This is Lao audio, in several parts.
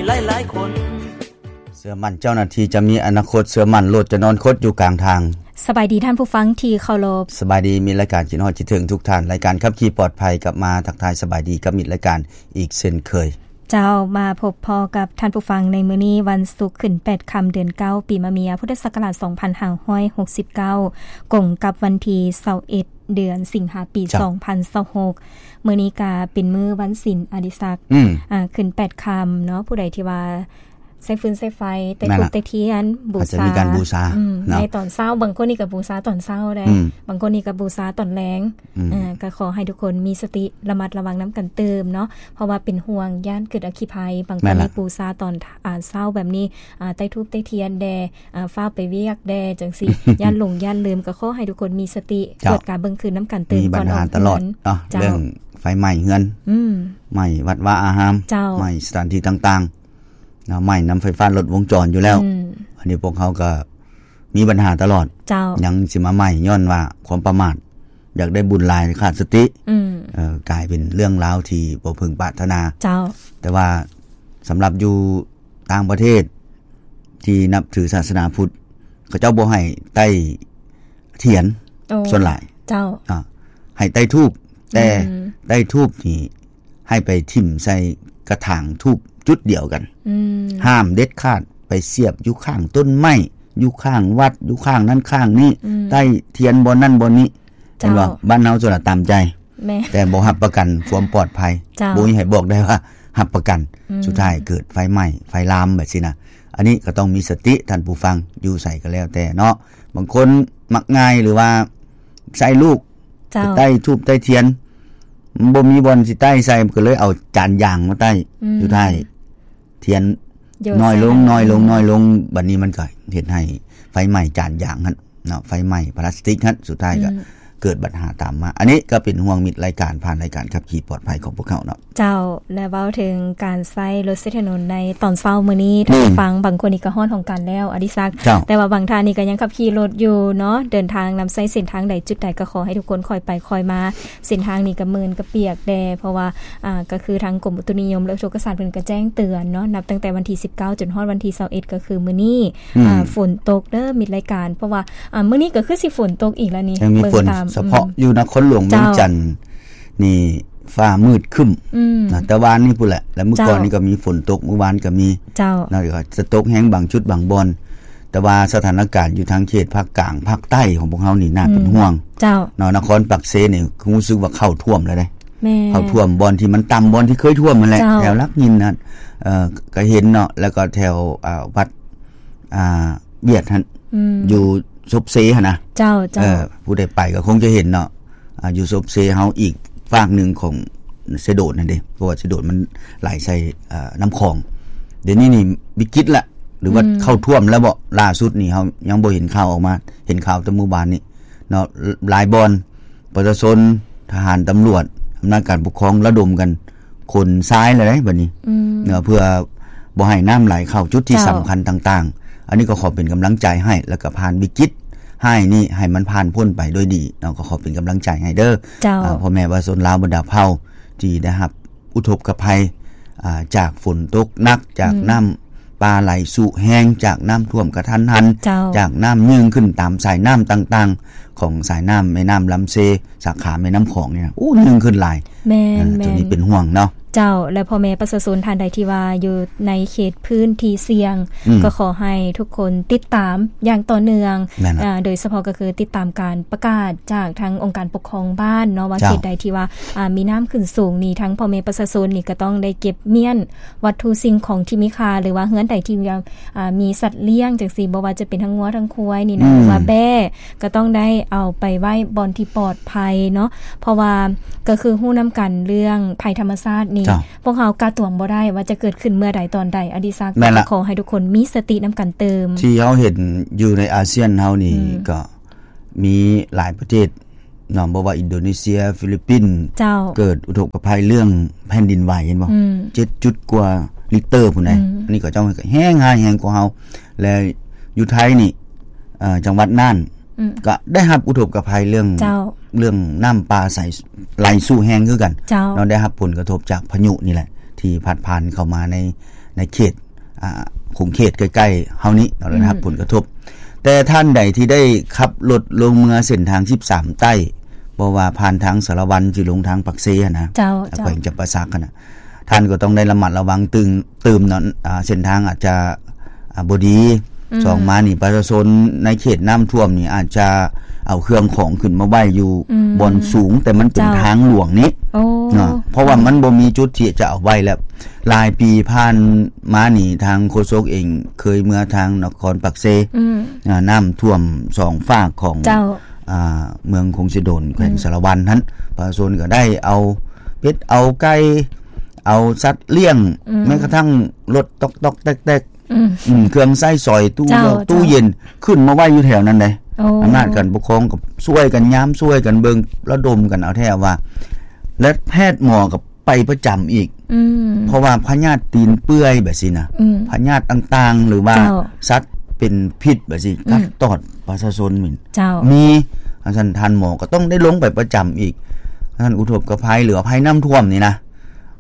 ຫຼາຍໆຄົນ. ເຊື່ອໝັ້ນເຈົ້າໜ້າທີ່ຈະມີອະນາຄົດ, ເຊື່ອໝັ້ນລົດຈະນອນຄົດຢູ່ກາງທາງ. ສະບາຍດີທ່ານຜູ້ຟັງທີ່ເຄົາລົບ. ສະບາຍດີມິດລາຍການຄິດຮອດຄິດເຖິງທຸກທ່ານ. ລາຍການຂັບຂີ່ປອດໄພກັບມາທັກທາຍສະບາຍດີກັບມິດລາຍການອີກເຊັ່ນເຄີຍ. ເຈົ້າ, ມາພົບພໍ້ກັບທ່ານຜູ້ຟັງໃນມື້ນີ້ ວັນສຸກຂຶ້ນແປດຄ່ຳ ເດືອນເກົ້າ ປີມະເມຍ ພຸດທະສັກກະລາດ ສອງພັນຫ້າຮ້ອຍຫົກສິບເກົ້າ ກົງກັບວັນທີຊາວເອັດ ເດືອນສິງຫາ ປີ ເຈົ້າ ສອງພັນຊາວຫົກ. ມື້ນີ້ກະເປັນມື້ວັນສິນ ອະດິສັກ ອືມ ອ່າ ຂຶ້ນແປດຄ່ຳເນາະ, ຜູ້ໃດທີ່ວ່າໃຊ້ຟືນໃຊ້ໄຟ ແຕ່ ແມ່ນລະ ທູບແຕ່ທຽນບູຊາ ອາດຈະມີການບູຊາ ອືມ ເນາະ ໃນຕອນເຊົ້າ. ບາງຄົນນີ້ກະບູຊາຕອນເຊົ້າໄດ້ ອືມ ບາງຄົນນີ້ກະບູຊາຕອນແລງ ອືມ ເອີ ກະຂໍໃຫ້ທຸກຄົນມີສະຕິ ລະມັດລະວັງນຳກັນຕື່ມເນາະ, ເພາະວ່າເປັນຫ່ວງຢ້ານເກີດອັກຄີໄພ. ບາງຄົນ ແມ່ນລະ ນີ້ບູຊາຕອນ ອາ ເຊົ້າແບບນີ້ ອາ ໃຕ້ທູບໃຕ້ທຽນແດ່ ອາ ຟ້າວໄປວຽກແດ່ຈັ່ງຊີ້ ຢ້ານຫຼົງຢ້ານລືມ. ກໍຂໍໃຫ້ທຸກຄົນມີສະຕິ ເຈົ້າ ກວດກາເບິ່ງຄືນນຳກັນຕື່ມ ມີບັນຫາຕະຫຼອດເນາະ ເຈົ້າ ເລື່ອງໄຟໄໝ້ເຮືອນ ອືມ ໄໝ້ວັດວາອາຮາມ ເຈົ້າ ໄໝ້ສະຖານທີ່ຕ່າງໆເນາະ, ໄໝ້ນຳໄຟຟ້າລັດວົງຈອນຢູ່ແລ້ວ ອືມ ອັນນີ້ພວກເຮົາກໍມີບັນຫາຕະຫຼອດ ເຈົ້າ ຍັງຊິມາໄໝ້ຍ້ອນວ່າຄວາມປະໝາດ ຢາກໄດ້ບຸນຫຼາຍຂາດສະຕິ ອືມ ເອີ ກາຍເປັນເລື່ອງລາວທີ່ບໍ່ເພິ່ງປາດຖະໜາ ເຈົ້າ ແຕ່ວ່າສຳລັບຢູ່ຕ່າງປະເທດທີ່ນັບຖືສາສະໜາພຸດ ເຂົາເຈົ້າບໍ່ໃຫ້ໄຕ້ທຽນ ໂອ້ ສ່ວນຫຼາຍ ເຈົ້າ ອາ ໃຫ້ໄຕ້ທູບ ແຕ່ ອືມ ໄຕ້ທູບນີ້ໃຫ້ໄປຖິ້ມໃສ່ກະຖາງທູບຈຸດດຽວກັນ ອືມ ຫ້າມເດັດຂາດ ໄປສຽບຢູ່ຂ້າງຕົ້ນໄມ້ ຢູ່ຂ້າງວັດ ຢູ່ຂ້າງນັ້ນຂ້າງນີ້ ອືມ ໄຕ້ທຽນບ່ອນນັ້ນບ່ອນນີ້ ເຈົ້າ ເຫັນບໍ່? ບ້ານເຮົາສ່ວນຫຼາຍຕາມໃຈ ແມ່ນ ແຕ່ບໍ່ຮັບປະກັນຄວາມປອດໄພ ເຈົ້າ ບໍ່ມີໃຜບອກໄດ້ວ່າຮັບປະກັນ ອືມ ສຸດທ້າຍເກີດໄຟໄໝ້ ໄຟລາມແບບຊີ້ນະ. ອັນນີ້ກໍຕ້ອງມີສະຕິ ທ່ານຜູ້ຟັງ ຢູ່ໃສກໍແລ້ວແຕ່ເນາະ, ບາງຄົນມັກງ່າຍ ຫຼືວ່າໃຊ້ລູກ ເຈົ້າ ໄຕ້ທູບໄຕ້ທຽນ ມັນບໍ່ມີບ່ອນຊິໄຕ້ໃສ່ ມັນກໍເລີຍເອົາຈານຢາງມາໄຕ້ ອືມ ສຸດທ້າຍ ທຽນນ້ອຍລົງ ນ້ອຍລົງ ນ້ອຍລົງ ບັດນີ້ມັນກໍເຮັດໃຫ້ໄຟໄໝ້ຈານຢາງຫັ້ນເນາະ, ໄຟໄໝ້ພລາສຕິກຫັ້ນ ສຸດທ້າຍກໍ ອືມ ເກີດບັນຫາຕາມມາ. ອັນນີ້ກໍເປັນຫ່ວງມິດລາຍການ ຜ່ານລາຍການຂັບຂີ່ປອດໄພຂອງພວກເຮົາເນາະ. ເຈົ້າ ແລະ ເວົ້າເຖິງການໃຊ້ລົດໃຊ້ຖະໜົນໃນຕອນເຊົ້າມື້ນີ້ ອືມ ທ່ານຜູ້ຟັງ ບາງຄົນນີ້ກໍຮ້ອນຮອງການແລ້ວ ອະດິສັກ ເຈົ້າ ແຕ່ວ່າບາງທ່ານນີ້ກໍຍັງຂັບຂີ່ລົດຢູ່ເນາະ, ເດີນທາງນຳໃຊ້ເສັ້ນທາງໃດຈຸດໃດ ກໍຂໍໃຫ້ທຸກຄົນຄ່ອຍໄປຄ່ອຍມາ. ເສັ້ນທາງນີ້ກໍເໝື່ອນກໍປຽກແດ່ ເພາະວ່າ ອ່າ ກໍຄືທາງກົມອຸຕຸນິຍົມ ແລະ ອຸທົກກະສາດເພິ່ນກໍແຈ້ງເຕືອນເນາະ ນັບຕັ້ງແຕ່ວັນທີສິບເກົ້າຈົນຮອດວັນທີຊາວເອັດ ກໍຄືມື້ນີ້ ອືມ ອ່າ ຝົນຕົກເດີມິດລາຍການ ເພາະວ່າ ອ່າ ມື້ນີ້ກໍຄືຊິຝົນຕົກອີກແລ້ວນີ້ ຍັງມີຝົນ ເບິ່ງຕາມ ສະເພາະ ອືມ ຢູ່ນະຄອນຫຼວງວຽງຈັນ ເຈົ້າ ນີ້ຟ້າມືດຄຶ້ມ ອືມ ນະ ແຕ່ວານນີ້ພຸ້ນແຫຼະ ແລະ ມື້ກ່ອນນີ້ ເຈົ້າ ກໍມີຝົນຕົກ ມື້ວານກໍມີ ເຈົ້າ ນະ ກໍຈະຕົກແຮງບາງຈຸດບາງບ່ອນ ແຕ່ວ່າສະຖານະການຢູ່ທາງເຂດພາກກາງ ພາກໃຕ້ຂອງພວກເຮົານີ້ໜ້າເປັນ ອືມ ຫ່ວງ ເຈົ້າ ເນາະ. ນະຄອນປາກເຊນີ້ຮູ້ສຶກວ່າເຂົ້າຖ້ວມແລ້ວເດ້ ແມ່ນ ເຂົ້າຖ້ວມບ່ອນທີ່ມັນຕ່ຳ ບ່ອນທີ່ເຄີຍຖ້ວມຫັ້ນແຫຼະ ເຈົ້າ ແຖວຫຼັກຫີນນັ້ນ ເອີ ກໍເຫັນເນາະ ແລ້ວກໍແຖວ ອ່າ ວັດ ອ່າ ວຽດຫັ້ນ ອືມ ຢູ່ສົບເຊຫັ້ນນະ ເຈົ້າ ເຈົ້າ ເອີ ຜູ້ໃດໄປກໍຄົງຈະເຫັນເນາະ ອ່າ ຢູ່ສົບເຊເຮົາອີກຟາກໜຶ່ງຂອງເຊໂດນຫັ້ນເດ້ ເພາະວ່າເຊໂດນມັນໄຫຼໃສ່ ເອີ ນ້ຳຂອງ. ດຽວນີ້ນີ້ວິກິດລະ ຫຼືວ່າ ອືມ ເຂົ້າຖ້ວມແລ້ວບໍ? ລ່າສຸດນີ້ເຮົາຍັງບໍ່ເຫັນຂ່າວອອກມາ ເຫັນຂ່າວແຕ່ມື້ວານນີ້ເນາະ. ຫຼາຍບ່ອນ ປະຊາຊົນ, ທະຫານ, ຕຳຫຼວດ, ອຳນາດການປົກຄອງລະດົມກັນຂົນຊາຍແລ້ວເດ້ບັດນີ້ ອືມ ເນາະ ເພື່ອບໍ່ໃຫ້ນ້ຳໄຫຼເຂົ້າຈຸດທີ່ ເຈົ້າ ສຳຄັນຕ່າງໆ. ອັນນີ້ກໍຂໍເປັນກຳລັງໃຈໃຫ້ ແລ້ວກໍຜ່ານວິກິດຮ້າຍນີ້ໃຫ້ມັນຜ່ານພົ້ນໄປໂດຍດີເນາະ, ກໍຂໍເປັນກຳລັງໃຈໃຫ້ເດີ ເຈົ້າ ອ່າ ພໍ່ແມ່ປະຊາຊົນລາວບັນດາເຜົ່າທີ່ໄດ້ຮັບ ອຸທົກກະໄພ ອ່າ ຈາກຝົນຕົກໜັກ, ຈາກ ອືມ ນ້ຳປ່າໄຫຼຊຸແຮງ, ຈາກນ້ຳຖ້ວມກະທັນຫັນ, ເຈົ້າ ຈາກນ້ຳຍື່ນຂຶ້ນຕາມສາຍນ້ຳຕ່າງໆ ຂອງສາຍນ້ຳແມ່ນ້ຳລຳເຊ ສາຂາແມ່ນ້ຳຂອງນີ້ນະ ໂອ້ ຍື່ນຂຶ້ນຫຼາຍ. ແມ່ນ ເອີ ແມ່ນ ໂຕນີ້ເປັນຫ່ວງເນາະ. ເຈົ້າ ແລະ ພໍ່ແມ່ປະຊາຊົນທ່ານໃດທີ່ວ່າຢູ່ໃນເຂດພື້ນທີ່ສ່ຽງ ອືມ ກໍຂໍໃຫ້ທຸກຄົນຕິດຕາມຢ່າງຕໍ່ເນື່ອງ ແມ່ນລະ ອ່າ ໂດຍສະເພາະກໍຄືຕິດຕາມການ ປະກາດຈາກທາງອົງການປົກຄອງບ້ານເນາະ ວ່າ ເຈົ້າ ເຂດໃດທີ່ວ່າ ອ່າ ມີນ້ຳຂຶ້ນສູງນີ້ ທາງພໍ່ແມ່ປະຊາຊົນນີ້ກໍຕ້ອງໄດ້ເກັບມ້ຽນວັດຖຸສິ່ງຂອງທີ່ມີຄ່າ ຫຼືວ່າເຮືອນໃດທີ່ວ່າ ອ່າ ມີສັດລ້ຽງຈັ່ງຊີ້ ບໍ່ວ່າຈະເປັນທັງງົວທັງຄວາຍນີ້ນະ ອືມ ຫຼືວ່າແບ້ ກໍຕ້ອງໄດ້ເອົາໄປໄວ້ບ່ອນທີ່ປອດໄພເນາະ ເພາະວ່າກໍຄືຮູ້ນຳກັນເລື່ອງໄພທຳມະຊາດນີ້ ເຈົ້າ ພວກເຮົາກະຕວງບໍ່ໄດ້ວ່າຈະເກີດຂຶ້ນເມື່ອໃດຕອນໃດ ອະດິສັກ ແມ່ນລະ ກໍຂໍໃຫ້ທຸກຄົນມີສະຕິນຳກັນຕື່ມ. ທີ່ເຮົາເຫັນຢູ່ໃນອາຊຽນເຮົານີ້ ອືມ ກໍ ມີຫຼາຍປະເທດເນາະ ບໍ່ວ່າອິນໂດເນເຊຍ, ຟີລິບປິນ ເຈົ້າ ເກີດອຸທົກກະໄພເລື່ອງແຜ່ນດິນໄຫວ ເຫັນບໍ່? ອືມ ເຈັດຈຸດກວ່າລິກເຕີພຸ້ນໃດ໋ ອືມ ອັນນີ້ເຂົາເຈົ້າແຮງຮ້າຍແຮງກວ່າເຮົາ ແລະ ຢູ່ໄທນີ້ ເອີ ຈັງຫວັດນ່ານ ອືມ ກໍໄດ້ຮັບອຸທົກກະໄພເລື່ອງ ເຈົ້າ ເລື່ອງນ້ຳປ່າໄຫຼຊຸແຮງຄືກັນ ເຈົ້າ ເນາະ ໄດ້ຮັບຜົນກະທົບຈາກພາຍຸນີ້ແຫຼະ ທີ່ພັດຜ່ານເຂົ້າມາໃນ ໃນເຂດ ອ່າ ຂົງເຂດໃກ້ໆເຮົານີ້ເນາະ ໄດ້ຮັບ ອືມ ຜົນກະທົບ. ແຕ່ທ່ານໃດທີ່ໄດ້ຂັບລົດລົງເມືອເສັ້ນທາງສິບສາມໃຕ້ ບໍ່ວ່າຜ່ານທາງສາລະວັນ ຊິລົງທາງປາກເຊຫັ້ນນະ ເຈົ້າ ແຂວງ ເຈົ້າ ຈຳປາສັກຫັ້ນນະ ທ່ານກໍຕ້ອງໄດ້ລະມັດລະວັງຕື່ມ ຕື່ມເນາະ ອ່າ ເສັ້ນທາງອາດຈະ ອ່າ ບໍ່ດີ. ອືມ ສອງມານີ້ ປະຊາຊົນໃນເຂດນ້ຳຖ້ວມນີ້ ອາດຈະເອົາເຄື່ອງຂອງຂຶ້ນມາໄວ້ຢູ່ ອືມ ບ່ອນສູງ ແຕ່ມັນເປັນ ເຈົ້າ ທາງຫຼວງນີ້ ໂອ້ ເນາະ ເພາະວ່າມັນບໍ່ມີຈຸດທີ່ຈະເອົາໄວ້ແລ້ວ. ຫຼາຍປີຜ່ານມານີ້ ທາງໂຄສົກເອງເຄີຍເມືອທາງນະຄອນປາກເຊ ອືມ ອ່າ ນ້ຳຖ້ວມສອງຟາກຂອງ ເຈົ້າ ອ່າ ເມືອງຄົງເຊໂດນ ແຂວງ ອືມ ສາລະວັນຫັ້ນ ປະຊາຊົນກໍໄດ້ເອົາເປັດເອົາໄກ່ ເອົາສັດລ້ຽງ ອືມ ແມ້ກະທັ້ງລົດຕອກໆແຕກໆ ອືມ ອືມ ເຄື່ອງໃຊ້ສອຍ ຕູ້ ເຈົ້າ ເຢັນ ເຈົ້າ ຕູ້ເຢັນ ຂຶ້ນມາໄວ້ຢູ່ແຖວນັ້ນເດ້. ໂອ້ ອຳນາດການປົກຄອງກໍຊ່ວຍກັນຍາມ ຊ່ວຍກັນເບິ່ງ ລະດົມກັນເອົາແທ້ວ່າ ແລະ ແພດໝໍກໍໄປປະຈຳອີກ ອືມ ເພາະວ່າພະຍາດຕີນເປື່ອຍແບບຊີ້ນະ ອືມ ພະຍາດຕ່າງໆ ຫຼືວ່າ ເຈົ້າ ສັດເປັນພິດແບບຊີ້ ອືມ ກັດຕອດປະຊາຊົນມີ ເຈົ້າ ມີ ອັນຊັ້ນທ່ານໝໍກໍຕ້ອງໄດ້ລົງໄປປະຈຳອີກ. ທ່ານອຸທົກກະໄພ ຫຼືວ່າໄພນ້ຳຖ້ວມນີ້ນະ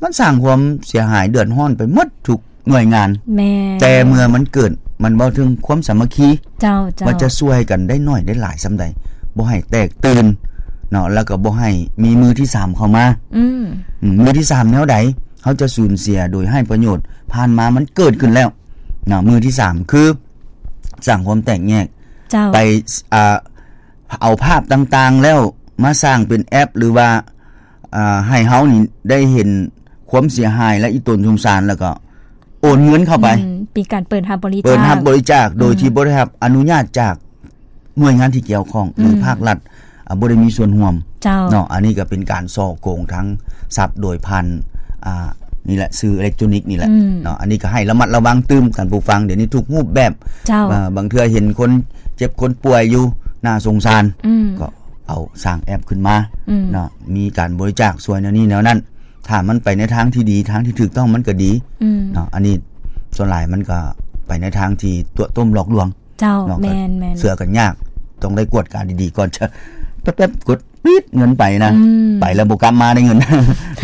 ມັນສ້າງຄວາມເສຍຫາຍເດືອດຮ້ອນໄປໝົດທຸກ ໜ່ວຍງານ ແມ່ນ ແຕ່ເມື່ອມັນເກີດ ມັນເວົ້າເຖິງຄວາມສາມັກຄີ ເຈົ້າ ເຈົ້າ ວ່າຈະຊ່ວຍກັນໄດ້ໜ້ອຍໄດ້ຫຼາຍສ່ຳໃດ ບໍ່ໃຫ້ແຕກຕື່ນເນາະ ແລ້ວກໍບໍ່ໃຫ້ມີມືທີສາມເຂົ້າມາ ອືມ ອືມ ມືທີສາມແນວໃດ ເຮົາຈະສູນເສຍໂດຍໃຫ້ປະໂຫຍດ ຜ່ານມາມັນເກີດຂຶ້ນແລ້ວເນາະ ມືທີສາມຄືສ້າງຄວາມແຕກແຍກ ເຈົ້າ ໄປ ອ່າ ເອົາພາບຕ່າງໆແລ້ວມາສ້າງເປັນແອັບ ຫຼືວ່າ ອ່າ ໃຫ້ເຮົານີ້ໄດ້ເຫັນຄວາມເສຍຫາຍ ແລະ ອີ່ຕົນສົງສານ ແລ້ວກໍໂອນເງິນເຂົ້າໄປ ອືມ ເປັນການເປີດຮັບບໍລິຈາກ ເປີດຮັບບໍລິຈາກ ໂດຍ ອືມ ທີ່ບໍ່ໄດ້ຮັບອະນຸຍາດຈາກໜ່ວຍງານທີ່ກ່ຽວຂ້ອງ ອືມ ຫຼື ພາກລັດ ອ່າ ບໍ່ໄດ້ມີສ່ວນຮ່ວມ ເຈົ້າ ເນາະ. ອັນນີ້ກໍເປັນການສໍ້ໂກງທາງຊັບໂດຍຜ່ານ ອ່າ ນີ້ແຫຼະ ສື່ເອເລັກໂຕຣນິກນີ້ແຫຼະ ອືມ ເນາະ. ອັນນີ້ກໍໃຫ້ລະມັດລະວັງຕື່ມ ທ່ານຜູ້ຟັງ ດຽວນີ້ທຸກຮູບແບບ ເຈົ້າ ເອີ ບາງເທື່ອເຫັນຄົນເຈັບຄົນປ່ວຍຢູ່ ໜ້າສົງສານ ອືມ ກໍ ເອົາສ້າງແອັບຂຶ້ນມາ ອືມ ເນາະ ມີການບໍລິຈາກຊ່ວຍແນວນີ້ແນວນັ້ນ ຖ້າມັນໄປໃນທາງທີ່ດີ ທາງທີ່ຖືກຕ້ອງ ມັນກໍດີ ອືມ ເນາະ. ອັນນີ້ສ່ວນຫຼາຍມັນກໍໄປໃນທາງທີ່ຕົວະຕົ້ມຫຼອກລວງ ເຈົ້າ ເນາະ ແມ່ນໆ ເຊື່ອກັນຍາກ ຕ້ອງໄດ້ກວດກາດີໆກ່ອນຈະແປັບໆ ກົດປີດເງິນໄປນະ ອືມ ໄປແລ້ວບໍ່ກັບມາໄດ້ເງິນ ເນ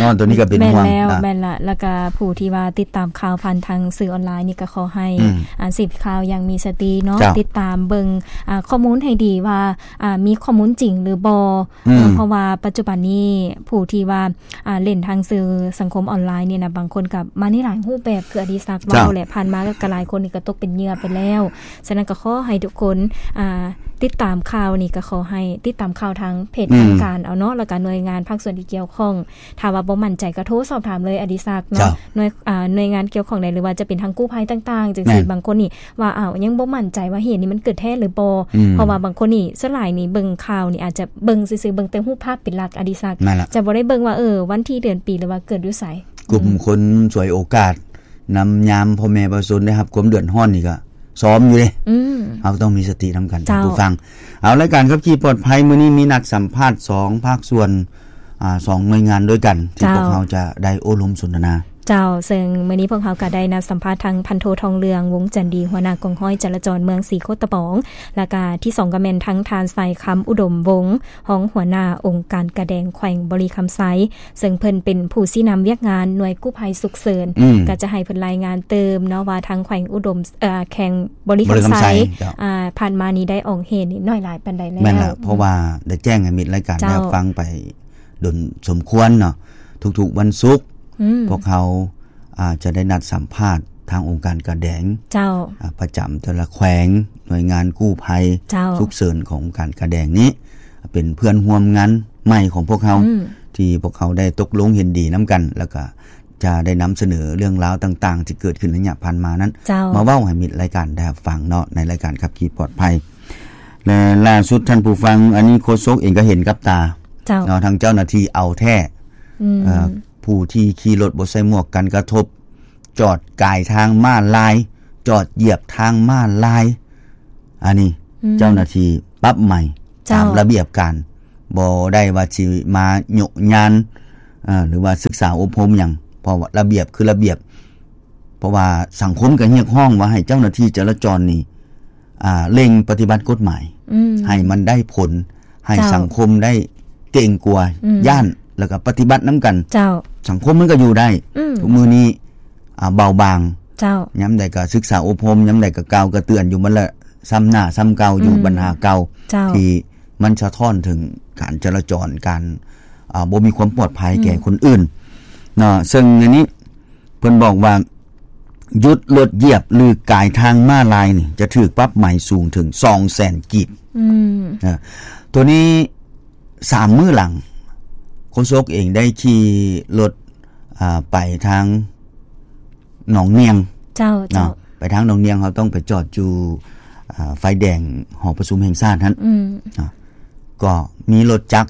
າະ. ຕົວນີ້ກໍເປັນຫ່ວງ ແມ່ນແລ້ວ ອ່າ ແມ່ນລະ. ແລ້ວກໍຜູ້ທີ່ວ່າຕິດຕາມຂ່າວຜ່ານທາງສື່ອອນລາຍນີ້ ກໍຂໍໃຫ້ ອືມ ອ່າ ເສບຂ່າວຢ່າງມີສະຕິເນາະ ເຈົ້າ ຕິດຕາມເບິ່ງ ອ່າ ຂໍ້ມູນໃຫ້ດີວ່າ ອ່າ ມີຂໍ້ມູນຈິງຫຼືບໍ່ ອືມ ເພາະວ່າປັດຈຸບັນນີ້ຜູ້ທີ່ວ່າ ອ່າ ຫຼິ້ນທາງສື່ສັງຄົມອອນລາຍນີ້ນະ ບາງຄົນກໍມາໃນຫຼາຍຮູບແບບ ຄືອະດິສັກເວົ້າ ເຈົ້າ ແຫຼະ ຜ່ານມາກໍຫຼາຍຄົນນີ້ກໍຕົກເປັນເຫຍື່ອໄປແລ້ວ. ສະນັ້ນກໍຂໍໃຫ້ທຸກຄົນ ອ່າ ຕິດຕາມຂ່າວນີ້ ກໍຂໍໃຫ້ຕິດຕາມຂ່າວທາງເພຈ ອືມ ທາງການເອົາເນາະ ແລ້ວກໍໜ່ວຍງານພາກສ່ວນທີ່ກ່ຽວຂ້ອງ. ຖ້າວ່າບໍ່ໝັ້ນໃຈກໍໂທສອບຖາມເລີຍ ອະດິສັກເນາະ ເຈົ້າ ໜ່ວຍ ອ່າ ໜ່ວຍງານກ່ຽວຂ້ອງໃດ ຫຼືວ່າຈະເປັນທາງກູ້ໄພຕ່າງໆ ຈັ່ງຊີ້ ແມ່ນ ບາງຄົນນີ້ ວ່າ ອ້າວ ຍັງບໍ່ໝັ້ນໃຈວ່າເຫດນີ້ມັນເກີດແທ້ຫຼືບໍ່ ອືມ ເພາະວ່າບາງຄົນນີ້ ສ່ວນຫຼາຍນີ້ເບິ່ງຂ່າວນີ້ອາດຈະເບິ່ງຊື່ໆ ເບິ່ງແຕ່ຮູບພາບເປັນຫຼັກ ອະດິສັກ ຈະບໍ່ໄດ້ເບິ່ງວ່າ ເອີ ວັນທີເດືອນປີ ຫຼືວ່າເກີດຢູ່ໃສ ກຸ່ມ ອືມ ຄົນສວຍໂອກາດ ນຳຍາມພໍ່ແມ່ປະຊາຊົນໄດ້ຮັບຄວາມເດືອດຮ້ອນນີ້ກໍຊ້ອມຢູ່ເດ້ ອືມ ເຮົາຕ້ອງມີສະຕິນຳກັນ ເຈົ້າ ທ່ານຜູ້ຟັງ. ເອົາ ລາຍການຂັບຂີ່ປອດໄພມື້ນີ້ມີນັດສຳພາດສອງພາກສ່ວນ ອ່າ ສອງໜ່ວຍງານດ້ວຍກັນ ທີ່ ເຈົ້າ ພວກເຮົາຈະໄດ້ໂອ້ລົມສົນທະນາ ເຈົ້າ ເຊິ່ງມື້ນີ້ພວກເຮົາກໍໄດ້ນັດສຳພາດທັງພັນໂທ ທອງເຫຼືອງ ວົງຈັນດີ ຫົວໜ້າກອງຮ້ອຍຈະລາຈອນເມືອງສີໂຄດຕະບອງ ແລ້ວກະທີສອງກໍແມ່ນທັງທ່ານ ໄຊຄຳ ອຸດົມວົງ ຮອງຫົວໜ້າອົງການກາແດງແຂວງບໍລິຄຳໄຊ ເຊິ່ງເພິ່ນເປັນຜູ້ຊີ້ນຳວຽກງານໜ່ວຍກູ້ໄພສຸກເສີນ ອືມ ກໍຈະໃຫ້ເພິ່ນລາຍງານຕື່ມເນາະວ່າທາງແຂວງອຸດົມ ເອີ ແຂວງບໍລິຄຳໄຊ ບໍລິຄຳໄຊ ເຈົ້າ ອ່າ ຜ່ານມານີ້ໄດ້ອອກເຫດນີ້ໜ້ອຍຫຼາຍປານໃດແລ້ວ ແມ່ນລະ ອືມ ເພາະວ່າໄດ້ແຈ້ງໃຫ້ມິດລາຍການ ເຈົ້າ ໄດ້ຟັງໄປ ດົນສົມຄວນເນາະ ທຸກໆວັນສຸກ ອືມ ພວກເຮົາ ອ່າ ຈະໄດ້ນັດສຳພາດທາງອົງການກາແດງ ເຈົ້າ ອ່າ ປະຈຳແຕ່ລະແຂວງ ໜ່ວຍງານກູ້ໄພ ເຈົ້າ ສຸກເສີນຂອງອົງການກາແດງນີ້ ເປັນເພື່ອນຮ່ວມງານໃໝ່ຂອງພວກເຮົາ ອືມ ທີ່ພວກເຮົາໄດ້ຕົກລົງເຫັນດີນຳກັນ ແລ້ວກະຈະໄດ້ນຳສະເໜີເລື່ອງລາວຕ່າງໆ ທີ່ເກີດຂຶ້ນໄລຍະຜ່ານມານັ້ນ ເຈົ້າ ມາເວົ້າໃຫ້ມິດລາຍການໄດ້ຮັບຟັງເນາະ ໃນລາຍການຂັບຂີ່ປອດໄພ ແລະ ລ່າສຸດທ່ານຜູ້ຟັງ ອັນນີ້ໂຄສົກເອງກໍເຫັນກັບຕາ ເຈົ້າ ເນາະ ທາງເຈົ້າໜ້າທີ່ເອົາແທ້ ອືມ ເອີ ຜູ້ທີ່ຂີ່ລົດບໍ່ໃສ່ໝວກກັນກະທົບ ຈອດກາຍທາງມ້າລາຍ ຈອດຢຽບທາງມ້າລາຍ ອັນນີ້ ອືມ ເຈົ້າໜ້າທີ່ປັບໃໝ ເຈົ້າ ຕາມລະບຽບການ ບໍ່ໄດ້ວ່າຊິມາໂຍະຍານ ເອີ ຫຼືວ່າສຶກສາອົບຮົມຫຍັງ ເພາະວ່າລະບຽບຄືລະບຽບ ເພາະວ່າສັງຄົມກໍຮຽກຮ້ອງວ່າໃຫ້ເຈົ້າໜ້າທີ່ຈະລາຈອນນີ້ ອ່າ ເລັ່ງປະຕິບັດກົດໝາຍ ອືມ ໃຫ້ມັນໄດ້ຜົນ ໃຫ້ ເຈົ້າ ສັງຄົມໄດ້ເກງກົວ ອືມ ຢ້ານ ແລ້ວກໍປະຕິບັດນຳກັນ ເຈົ້າ ສັງຄົມມັນກໍຢູ່ໄດ້ ອືມ ທຸກມື້ນີ້ ອ່າ ເບົາບາງ ເຈົ້າ ຍາມໃດກໍສຶກສາອົບຮົມ ຍາມໃດກໍກ່າວກໍເຕືອນຢູ່ ມັນລະຊ້ຳໜ້າຊ້ຳເກົ່າຢູ່ ອືມ ບັນຫາເກົ່າ ເຈົ້າ ທີ່ມັນສະທ້ອນເຖິງການຈະລາຈອນ ການ ອ່າ ບໍ່ມີຄວາມປອດໄພ ອືມ ແກ່ຄົນອື່ນເນາະ. ເຊິ່ງໃນນີ້ເພິ່ນບອກວ່າ ຢຸດລົດຢຽບ ຫຼື ກາຍທາງມ້າລາຍນີ້ ຈະຖືກປັບໃໝສູງເຖິງສອງແສນກີບ. ອືມ ເອີ ຕົວນີ້ ສາມມື້ຫຼັງ ໂຄສົກເອງໄດ້ຂີ່ລົດ ອ່າ ໄປທາງໜອງນຽງ ເຈົ້າ ເນາະ ເຈົ້າ ໄປທາງໜອງນຽງ ເຮົາຕ້ອງໄປຈອດຢູ່ ອ່າ ໄຟແດງຫໍປະຊຸມແຫ່ງຊາດຫັ້ນ ອືມ ເນາະ ກໍມີລົດຈັກ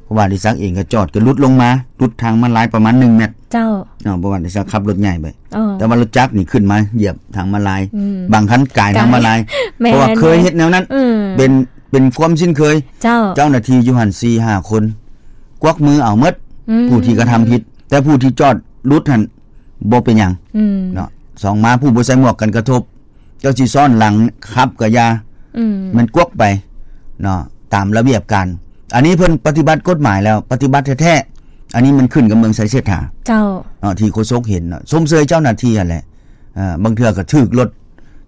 ເພາະວ່າອະດິສັກເອງກໍຈອດ ກໍຫຼຸດລົງມາ ຫຼຸດທາງມ້າລາຍປະມານໜຶ່ງແມັດ ເຈົ້າ ເນາະ ເພາະວ່າອະດິສັກຂັບລົດໃຫຍ່ໄປ ເອີ ແຕ່ວ່າລົດຈັກນີ້ຂຶ້ນມາຢຽບທາງມ້າລາຍ ອືມ ບາງຄັນກາຍທາງມ້າລາຍ ກາຍ ແມ່ນ ເພາະວ່າເຄີຍເຮັດແນວນັ້ນ ອືມ ເປັນ ເປັນຄວາມຊິນເຄີຍ ເຈົ້າ ເຈົ້າໜ້າທີ່ຢູ່ຫັ້ນສີ່ຫ້າຄົນ ກວັກມືເອົາໝົດ ອືມ ຜູ້ທີ່ກະທຳຜິດ ແຕ່ຜູ້ທີ່ຈອດຫຼຸດຫັ້ນບໍ່ເປັນຫຍັງ ອືມ ເນາະ ສອງມາຜູ້ບໍ່ໃສ່ໝວກກັນກະທົບ ເຈົ້າຊິຊ້ອນຫຼັງຂັບກະຢ່າ ອືມ ແມ່ນກວັກໄປເນາະ ຕາມລະບຽບການ ອັນນີ້ເພິ່ນປະຕິບັດກົດໝາຍແລ້ວ ປະຕິບັດແທ້ໆ ອັນນີ້ມັນຂຶ້ນກັບເມືອງໄຊເສດຖາ ເຈົ້າ ເນາະ ທີ່ໂຄສົກເຫັນເນາະ ຊົມເຊີຍເຈົ້າໜ້າທີ່ຫັ້ນແຫຼະ ເອີ ບາງເທື່ອກໍຖືກລົດ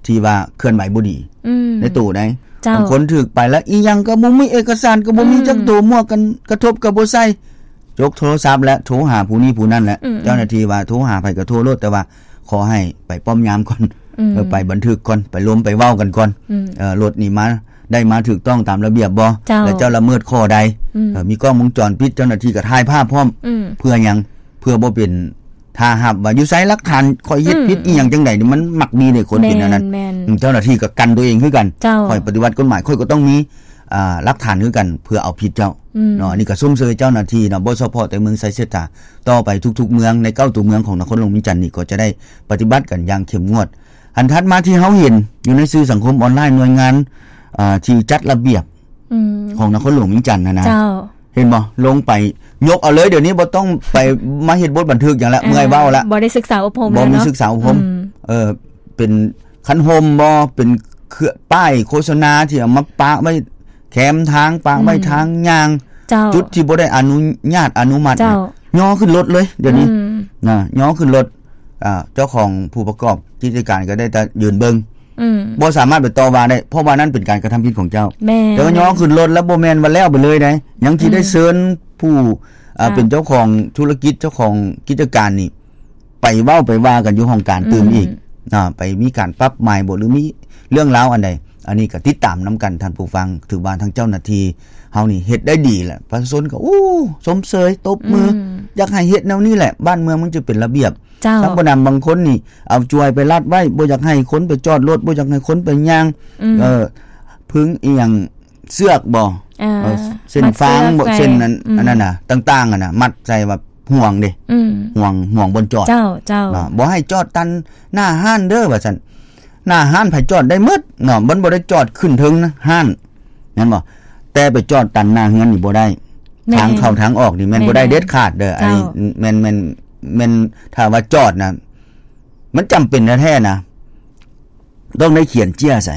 ທີ່ວ່າເຄື່ອນໄຫວບໍ່ດີ ອືມ ໃນໂຕໃດ ເຈົ້າ ບາງຄົນຖືກໄປແລ້ວ ອີ່ຫຍັງກໍບໍ່ມີ ເອກະສານກໍບໍ່ມີ ອືມ ຈັກໂຕ ໝວກກັນກະທົບກໍບໍ່ໃສ່ ຈົກໂທລະສັບແລ້ວ ໂທຫາຜູ້ນີ້ຜູ້ນັ້ນແຫຼະ ອືມ ເຈົ້າໜ້າທີ່ວ່າໂທຫາໃຜກໍໂທໂລດ ແຕ່ວ່າຂໍໃຫ້ໄປປ້ອມຍາມກ່ອນ ອືມ ເອີ ໄປບັນທຶກກ່ອນ ໄປລົມໄປເວົ້າກັນກ່ອນ ອືມ ເອີ ລົດນີ້ມາ ໄດ້ມາຖືກຕ້ອງຕາມລະບຽບບໍ່ ເຈົ້າ ແລະ ເຈົ້າລະເມີດຂໍ້ໃດ ອືມ ເອີ ມີກ້ອງວົງຈອນປິດ ເຈົ້າໜ້າທີ່ກໍຖ່າຍພາບພ້ອມ ອືມ ເພື່ອຫຍັງ ເພື່ອບໍ່ເປັນທ່າຮັບວ່າຢູ່ໃສຫຼັກຖານ ຂ້ອຍເຮັດ ອືມ ຜິດອີ່ຫຍັງຈັ່ງໃດ ມັນມັກມີເດ້ຄົນເປັນແນວນັ້ນ ແມ່ນໆ ເຈົ້າໜ້າທີ່ກໍກັນຕົວເອງຄືກັນ ເຈົ້າ ຂ້ອຍປະຕິບັດກົດໝາຍ ຂ້ອຍກໍຕ້ອງມີ ອ່າ ຫຼັກຖານຄືກັນ ເພື່ອເອົາຜິດເຈົ້າ ອືມ ເນາະ ອັນນີ້ກໍຊົມເຊີຍເຈົ້າໜ້າທີ່ເນາະ ບໍ່ສະເພາະແຕ່ເມືອງໄຊເສດຖາ ຕໍ່ໄປທຸກໆເມືອງ ໃນເກົ້າຕົວເມືອງຂອງນະຄອນຫຼວງວຽງຈັນນີ້ ກໍຈະໄດ້ປະຕິບັດກັນຢ່າງເຂັ້ມງວດ. ອັນຖັດມາທີ່ເຮົາເຫັນຢູ່ໃນສື່ສັງຄົມອອນລາຍ ໜ່ວຍງານ ເອີ ທີ່ຈັດລະບຽບ ອືມ ຂອງນະຄອນຫຼວງວຽງຈັນຫັ້ນນະ ເຈົ້າ ເຫັນບໍ່ ລົງໄປຍົກເອົາເລີຍ ດຽວນີ້ບໍ່ຕ້ອງໄປມາເຮັດບົດບັນທຶກຫຍັງລະ ເອີ ເມື່ອຍເວົ້າລະ ບໍ່ໄດ້ສຶກສາອົບຮົມ ບໍ່ມີ ເນາະ ສຶກສາອົບຮົມ ອືມ ເອີ ເປັນຄັນຮົ່ມບໍ່ ເປັນເຄື່ອງປ້າຍໂຄສະນາທີ່ເອົາມາປະໄວ້ແຄມທາງ ປະໄວ້ ອືມ ທາງຍ່າງ ເຈົ້າ ຈຸດທີ່ບໍ່ໄດ້ອະນຸຍາດອະນຸມັດ ເຈົ້າ ຍໍຂຶ້ນລົດເລີຍ ດຽວນີ້ ອືມ ນະ ຍໍຂຶ້ນລົດ ອ່າ ເຈົ້າຂອງຜູ້ປະກອບກິດຈະການກໍໄດ້ແຕ່ຢືນເບິ່ງ ອືມ ບໍ່ສາມາດໄປຕໍ່ວ່າໄດ້ ເພາະວ່ານັ້ນເປັນການກະທຳຜິດຂອງເຈົ້າ ແມ່ນ ແຕ່ວ່າຍໍຂຶ້ນລົດແລ້ວບໍ່ແມ່ນວ່າແລ້ວໄປເລີຍໃດ ຍັງຊິໄດ້ ອືມ ເຊີນຜູ້ ອ່າ ເຈົ້າ ເປັນເຈົ້າຂອງທຸລະກິດ ເຈົ້າຂອງກິດຈະການນີ້ ໄປເວົ້າໄປວ່າກັນຢູ່ຫ້ອງການຕື່ມອີກ ອືມ ເນາະ ໄປມີການປັບໃໝບໍ່ ຫຼື ມີເລື່ອງລາວອັນໃດ ອັນນີ້ກໍຕິດຕາມນຳກັນທ່ານຜູ້ຟັງ ຖືວ່າທາງເຈົ້າໜ້າທີ່ເຮົານີ້ເຮັດໄດ້ດີແຫຼະ ປະຊາຊົນກໍ ໂອ້ ຊົມເຊີຍ ຕົບມື ອືມ ຢາກໃຫ້ເຮັດແນວນີ້ແຫຼະ ບ້ານເມືອງມັນຈະເປັນລະບຽບ ເຈົ້າ ທາງຜູ້ນຳບາງຄົນນີ້ເອົາຈວຍໄປລັດໄວ້ ບໍ່ຢາກໃຫ້ຄົນໄປຈອດລົດ ບໍ່ຢາກໃຫ້ຄົນໄປຍ່າງ ອືມ ເອີ ພຶງອີ່ຫຍັງ ເຊືອກບໍ່ ເອີ ເອີ ເສັ້ນຟາງບໍ່ ມັດເຊືອກໃສ່ ເສັ້ນນັ້ນ ອືມ ອັນນັ້ນນະ ຕ່າງໆຫັ້ນນະ ມັດໃສ່ວ່າຫ່ວງເດ້ ອືມ ຫ່ວງ ຫ່ວງບ່ອນຈອດ ເຈົ້າ ເຈົ້າ ເນາະ ບໍ່ໃຫ້ຈອດຕັນໜ້າຮ້ານເດີ ວ່າຊັ້ນ ໜ້າຮ້ານໃຜຈອດໄດ້ໝົດເນາະ ມັນບໍ່ໄດ້ຈອດຂຶ້ນເທິງຮ້ານ ແມ່ນບໍ່ ແຕ່ໄປຈອດຕັນໜ້າເຮືອນນີ້ບໍ່ໄດ້ ແມ່ນ ທາງເຂົ້າທາງອອກນີ້ແມ່ນ ແມ່ນ ບໍ່ໄດ້ເດັດຂາດເດີ ເຈົ້າ ອັນນີ້ແມ່ນ ແມ່ນ ແມ່ນ ຖ້າວ່າຈອດນະ ມັນຈຳເປັນແທ້ໆນະ ຕ້ອງໄດ້ຂຽນເຈ້ຍໃສ່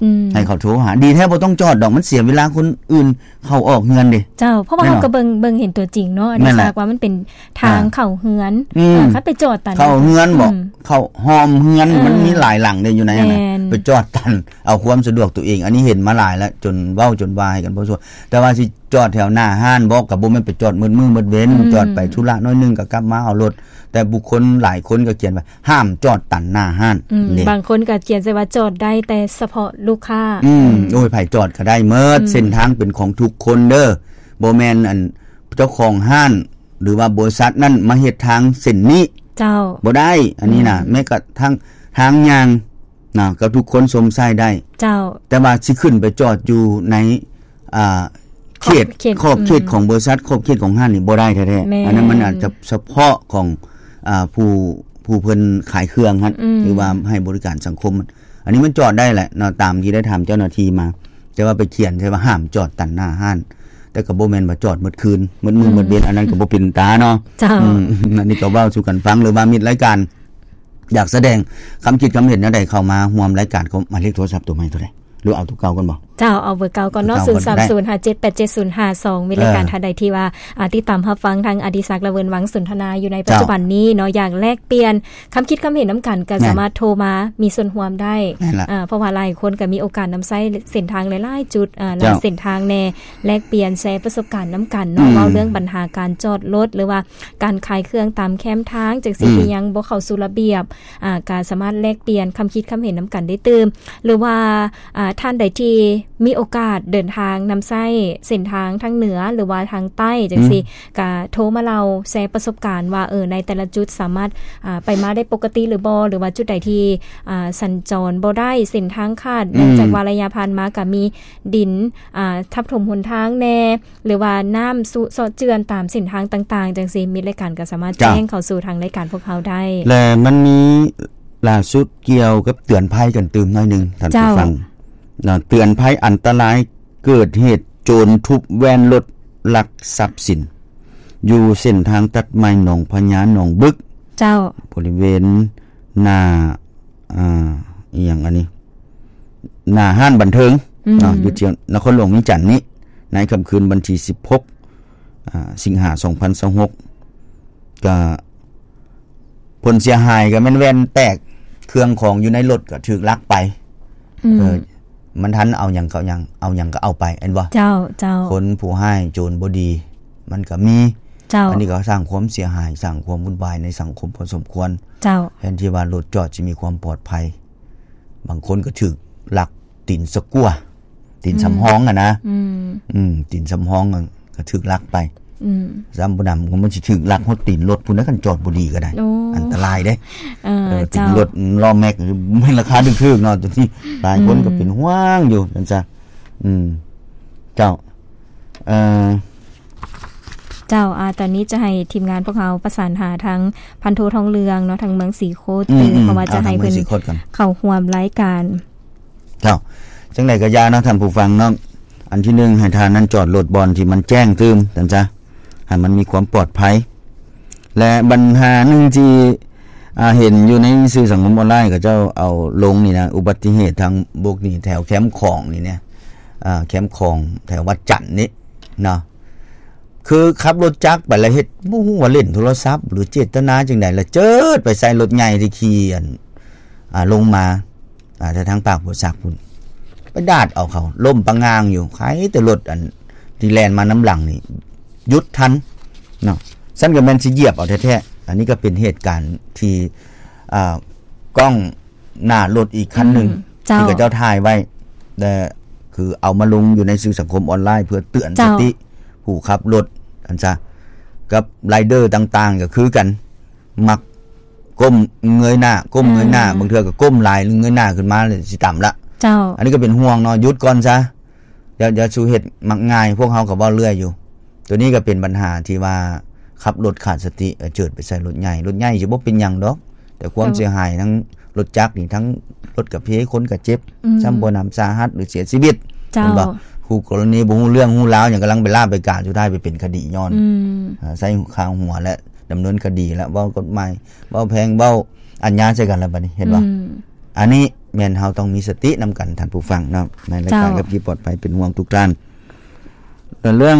ອືມ ໃຫ້ເຂົາໂທຫາ ດີແທ້ບໍ່ຕ້ອງຈອດດອກ ມັນເສຍເວລາຄົນອື່ນເຂົ້າອອກເຮືອນເດ້ ເຈົ້າ ເພາະວ່າ ແມ່ນບໍ່ ເຮົາກໍເບິ່ງ ເບິ່ງເຫັນຕົວຈິງເນາະ ອັນນີ້ ແມ່ນແຫຼະ ຊາກວ່າມັນເປັນທາງ ອ່າ ເຂົ້າເຮືອນ ອືມ ເອີ ຄັນໄປຈອດຕັນ ເຂົ້າເຮືອນບໍ່ ອືມ ເຂົ້າຮ່ອມເຮືອນ ເອີ ມັນມີຫຼາຍຫຼັງເດ້ຢູ່ໃນຫັ້ນນະ ແມ່ນ ໄປຈອດຕັນ ເອົາຄວາມສະດວກຕົວເອງ ອັນນີ້ເຫັນມາຫຼາຍແລ້ວ ຈົນເວົ້າຈົນວ່າໃຫ້ກັນພໍສົມຄວນ ແຕ່ວ່າຊິ ຈອດແຖວໜ້າຮ້ານບໍ່ ກໍບໍ່ແມ່ນໄປຈອດໝົດມື້ໝົດເວັນ ອືມ ຈອດໄປທຸລະໜ້ອຍໜຶ່ງກໍກັບມາເອົາລົດ ແຕ່ບຸກຄົນຫຼາຍຄົນກໍຂຽນວ່າ ຫ້າມຈອດຕັນໜ້າຮ້ານ ອືມ ເດ້ ບາງຄົນກໍຂຽນໃສ່ວ່າຈອດໄດ້ແຕ່ສະເພາະລູກຄ້າ ອືມ ອືມ ໂອ້ຍ ໃຜຈອດກໍໄດ້ໝົດ ອືມ ເສັ້ນທາງເປັນຂອງທຸກຄົນເດີ ບໍ່ແມ່ນອັນເຈົ້າຂອງຮ້ານ ຫຼືວ່າບໍລິສັດນັ້ນມາເຮັດທາງເສັ້ນນີ້ ເຈົ້າ ບໍ່ໄດ້ ອັນນີ້ນະ ອືມ ແມ້ກະທັ່ງທາງຍ່າງ ນະ ກໍທຸກຄົນຊົມໃຊ້ໄດ້ ເຈົ້າ ແຕ່ວ່າຊິຂຶ້ນໄປຈອດຢູ່ໃນ ອ່າ ຂອບເຂດ ເຂດ ຂອບເຂດ ອືມ ຂອງບໍລິສັດ ຂອບເຂດຂອງຮ້ານນີ້ບໍ່ໄດ້ແທ້ໆ ແມ່ນ ອັນນັ້ນມັນອາດຈະສະເພາະຂອງ ອ່າ ຜູ້ ຜູ້ເພິ່ນຂາຍເຄື່ອງຫັ້ນ ອືມ ຫຼືວ່າໃຫ້ບໍລິການສັງຄົມ ອັນນີ້ມັນຈອດໄດ້ແຫຼະເນາະ ຕາມທີ່ໄດ້ຖາມເຈົ້າໜ້າທີ່ມາ ແຕ່ວ່າໄປຂຽນໃສ່ວ່າຫ້າມຈອດຕັນໜ້າຮ້ານ ແຕ່ກໍບໍ່ແມ່ນວ່າຈອດໝົດຄືນ ໝົດມື້ ອືມ ໝົດເວັນ ອັນນັ້ນກໍບໍ່ເປັນຕາເນາະ ເຈົ້າ ອືມ ອັນນີ້ກໍເວົ້າສູ່ກັນຟັງ ຫຼືວ່າມິດລາຍການ ຢາກສະແດງຄຳຄິດຄຳເຫັນແນວໃດ ເຂົ້າມາຮ່ວມລາຍການ ກໍໝາຍເລກໂທລະສັບຕົວໃໝ່ຕົວໃດ ຫຼືເອົາຕົວເກົ່າກ່ອນບໍ່? ເຈົ້າ ເອົາເບີເກົ່າກ່ອນເນາະ ເບີເກົ່າກ່ອນກໍໄດ້ ສູນສາມສູນຫ້າເຈົ້າເຈັດແປດເຈັດສູນຫ້າສອງ ມີລາຍການ ເອີ ທ່ານໃດທີ່ວ່າ ອາ ຕິດຕາມຮັບຟັງທາງອະດິສັກ ລະເວີນວັງສົນທະນາຢູ່ໃນ ເຈົ້າ ປັດຈຸບັນນີ້ເນາະ ຢາກແລກປ່ຽນຄຳຄິດຄຳເຫັນນຳກັນ ກໍ ແມ່ນ ສາມາດໂທມາມີສ່ວນຮ່ວມໄດ້ ແມ່ນລະ ອາ ເພາະວ່າຫຼາຍຄົນກໍມີໂອກາດນຳໃຊ້ເສັ້ນທາງຫຼາຍໆຈຸດ ອາ ຫຼາຍ ເຈົ້າ ເສັ້ນທາງແດ່ ແລກປ່ຽນແຊປະສົບການນຳກັນເນາະ ອືມ ເວົ້າເລື່ອງບັນຫາການຈອດລົດ ຫຼືວ່າການຂາຍເຄື່ອງຕາມແຄມທາງຈັ່ງຊີ້ ອືມ ທີ່ຍັງບໍ່ເຂົ້າສູ່ລະບຽບ ອາ ກໍສາມາດແລກປ່ຽນຄຳຄິດຄຳເຫັນນຳກັນໄດ້ຕື່ມ ຫຼືວ່າ ອາ ທ່ານໃດທີ່ມີໂອກາດເດີນທາງນຳໃຊ້ເສັ້ນທາງທາງເໜືອ ຫຼືວ່າທາງໃຕ້ຈັ່ງຊີ້ ອືມ ກະໂທມາເລົ່າແຊປະສົບການວ່າ ເອີ ໃນແຕ່ລະຈຸດສາມາດ ອາ ໄປມາໄດ້ປົກກະຕິຫຼືບໍ່ ຫຼືວ່າຈຸດໃດທີ່ ອາ ສັນຈອນບໍ່ໄດ້ ເສັ້ນທາງຂາດ ອືມ ເນື່ອງຈາກວ່າໄລຍະຜ່ານມາກະມີດິນ ອາ ທັບຖົມຫົນທາງແດ່ ຫຼືວ່ານ້ຳຊຸເຊາະເຈື່ອນຕາມເສັ້ນທາງຕ່າງໆ ຈັ່ງຊີ້ ມິດລາຍການກໍສາມາດ ເຈົ້າ ແຈ້ງເຂົ້າສູ່ທາງລາຍການພວກເຮົາໄດ້ ແລະ ມັນມີລ່າສຸດກ່ຽວກັບເຕືອນໄພກັນຕື່ມໜ້ອຍໜຶ່ງ ທ່ານ ເຈົ້າ ຜູ້ຟັງເນາະ ເຕືອນໄພອັນຕະລາຍເກີດເຫດໂຈນທຸບແວ່ນລົດລັກຊັບສິນ ຢູ່ເສັ້ນທາງຕັດໃໝ່ໜອງພະຍາ ໜອງບຶກ ເຈົ້າ ບໍລິເວນໜ້າ ອາ ອີ່ຫຍັງອັນນີ້ ໜ້າຮ້ານບັນເທີງ ອືມ ເນາະ ຢູ່ທີ່ນະຄອນຫຼວງວຽງຈັນນີ້ ໃນຄ່ຳຄືນວັນທີສິບຫົກ ອາ ສິງຫາ ສອງພັນຊາວຫົກ ກະຜົນເສຍຫາຍກະແມ່ນແວ່ນແຕກ ເຄື່ອງຂອງຢູ່ໃນລົດກະຖືກລັກໄປ ອືມ ເອີ ມັນທັນເອົາຫຍັງເຂົາຫຍັງ ເອົາຫຍັງກະເອົາໄປ ແມ່ນບໍ່? ເຈົ້າ ເຈົ້າ ຄົນຜູ້ຮ້າຍໂຈນບໍ່ດີ ມັນກະມີ ເຈົ້າ ອັນນີ້ກໍສ້າງຄວາມເສຍຫາຍ ສ້າງຄວາມວຸ່ນວາຍໃນສັງຄົມພໍສົມຄວນ ເຈົ້າ ແທນທີ່ວ່າລົດຈອດຊິມີຄວາມປອດໄພ ບາງຄົນກໍຖືກລັກຕີນສະກົວ ຕີນ ອືມ ສຳຮອງຫັ້ນນະ ອືມ ອືມ ຕີນສຳຮອງຫັ້ນກໍຖືກລັກໄປ ອືມ ຊ້ຳບໍ່ນຳ ມັນຊິຖືກລັກຮອດຕີນລົດພຸ້ນນະ ຄັນຈອດບໍ່ດີກໍໄດ້ ໂອ້ ອັນຕະລາຍເດ້ ເອີ ເອີ ຕີນ ເຈົ້າ ລົດ ລໍ້ແມັກ ແມ່ນລາຄາຖືກໆເນາະ ໂຕນີ້ຫຼາຍຄົນ ອືມ ກໍເປັນຫ່ວງຢູ່ ຈັ່ງຊັ້ນ ອືມ ເຈົ້າ ເອີ ເຈົ້າ ອາ ຕອນນີ້ຈະໃຫ້ທີມງານພວກເຮົາປະສານຫາທາງພັນໂທທອງເຫຼືອງເນາະ ທາງເມືອງສີໂຄດ ອືມໆ ເພາະວ່າຈະໃຫ້ເພິ່ນ ເອົາທາງເມືອງສີໂຄດກ່ອນ ເຂົ້າຮ່ວມລາຍການ ເຈົ້າ ຈັ່ງໃດກໍຢ່າເນາະທ່ານຜູ້ຟັງເນາະ ອັນທີໜຶ່ງ ໃຫ້ທ່ານນັ້ນຈອດລົດບ່ອນທີ່ມັນແຈ້ງຕື່ມ ຊັ້ນຊະ ໃຫ້ມັນມີຄວາມປອດໄພ ແລະ ບັນຫາໜຶ່ງທີ່ ອາ ເຫັນຢູ່ໃນສື່ສັງຄົມອອນລາຍ ເຂົາເຈົ້າເອົາລົງນີ້ນະ ອຸບັດຕິເຫດທາງບົກນີ້ ແຖວແຄມຂອງນີ້ນະ ອາ ແຄມຂອງແຖວວັດຈັນນີ້ເນາະ ຄືຂັບລົດຈັກໄປແລ້ວເຮັດ ບໍ່ຮູ້ວ່າຫຼິ້ນໂທລະສັບ ຫຼືເຈດຕະນາຈັ່ງໃດ ແລ້ວເຈີດໄປໃສ່ລົດໃຫຍ່ທີ່ຂີ່ອັນ ອາ ລົງມາ ອາ ແຕ່ທາງປາກໂພສັກພຸ້ນ ໄປດາດເອົາເຂົາ ລົ້ມປະງາງຢູ່ ໃຄແຕ່ລົດອັນທີ່ແລ່ນມານຳຫຼັງນີ້ຢຸດທັນເນາະ ຊັ້ນກໍແມ່ນຊິຢຽບເອົາແທ້ໆ ອັນນີ້ກໍເປັນເຫດການທີ່ ອາ ກ້ອງ ໜ້າລົດອີກຄັນໜຶ່ງ ອືມ ເຈົ້າ ທີ່ເຂົາເຈົ້າຖ່າຍໄວ້ ແລະ ຄືເອົາມາລົງຢູ່ໃນສື່ສັງຄົມອອນລາຍ ເພື່ອເຕືອນ ເຈົ້າ ສະຕິຜູ້ຂັບລົດຫັ້ນຊະ ກັບໄລເດີຕ່າງໆກໍຄືກັນ ມັກກົ້ມເງີຍໜ້າ ກົ້ມເງີຍໜ້າ ອືມ ບາງເທື່ອກໍກົ້ມຫຼາຍ ເງີຍໜ້າຂຶ້ນມາແລ້ວຊິຕຳລະ ເຈົ້າ ອັນນີ້ກໍເປັນຫ່ວງເນາະ ຢຸດກ່ອນຊະ ຢ່າ ຢ່າສູ່ເຮັດມັກງ່າຍ ພວກເຮົາກໍເວົ້າເລື້ອຍຢູ່ ໂຕນີ້ກໍເປັນບັນຫາທີ່ວ່າຂັບລົດຂາດສະຕິ ເອີ ເຈີດໄປໃສ່ລົດໃຫຍ່ ລົດໃຫຍ່ຊິບໍ່ເປັນຫຍັງດອກ ແຕ່ຄວາມ ເຈົ້າ ເສຍຫາຍທັງລົດຈັກນີ້ ທັງລົດກະເພ ຄົນກະເຈັບ ອືມ ຊ້ຳບໍ່ໜຳສາຫັດ ຫຼືເສຍຊີວິດ ເຈົ້າ ແມ່ນບໍ່? ຄູ່ກໍລະນີບໍ່ຮູ້ເລື່ອງຮູ້ລາວຫຍັງ ກຳລັງໄປລາບໄປການ ສຸດທ້າຍໄປເປັນຄະດີຍ້ອນ ອືມ ອາ ໃຊ້ຄາຫົວ ແລະ ດຳເນີນຄະດີ ແລະ ເວົ້າກົດໝາຍ ເວົ້າແພງ ເວົ້າອາຍາໃສ່ກັນລະບາດນີ້ ເຫັນບໍ່? ອືມ ອັນນີ້ແມ່ນເຮົາຕ້ອງມີສະຕິນຳກັນທ່ານຜູ້ຟັງເນາະ ໃນລາຍການ ເຈົ້າ ຂັບຂີ່ປອດໄພ ເປັນຫ່ວງທຸກທ່ານ ແລະ ເລື່ອງ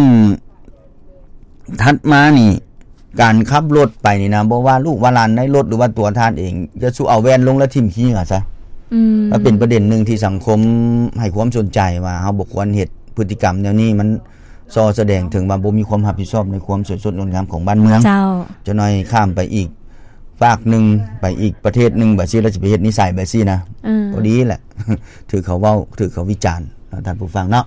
ຖັດມານີ້ ການຂັບລົດໄປນີ້ນະ ບໍ່ວ່າລູກວ່າຫຼານໃນລົດ ຫຼືວ່າຕົວທ່ານເອງ ຢ່າສູ່ເອົາແວ່ນລົງແລ້ວຖິ້ມຂີ້ເຫຍື້ອຊະ ອືມ ມັນເປັນປະເດັນໜຶ່ງທີ່ສັງຄົມໃຫ້ຄວາມສົນໃຈວ່າ ເຮົາບໍ່ຄວນເຮັດພຶດຕິກຳແນວນີ້ ມັນ ສໍ່ສະແດງເຖິງວ່າບໍ່ມີຄວາມຮັບຜິດຊອບໃນຄວາມສວຍສົດງົດງາມຂອງບ້ານເມືອງ ເຈົ້າ ຈັກໜ້ອຍຂ້າມໄປອີກຟາກໜຶ່ງ ໄປອີກປະເທດໜຶ່ງ ບາດຊີ້ລະຊິໄປເຮັດນິໄສແບບຊີ້ນະ ເອີ ບໍ່ດີແຫຼະ ຖືກເຂົາເວົ້າ ຖືກເຂົາວິຈານເນາະ ທ່ານຜູ້ຟັງເນາະ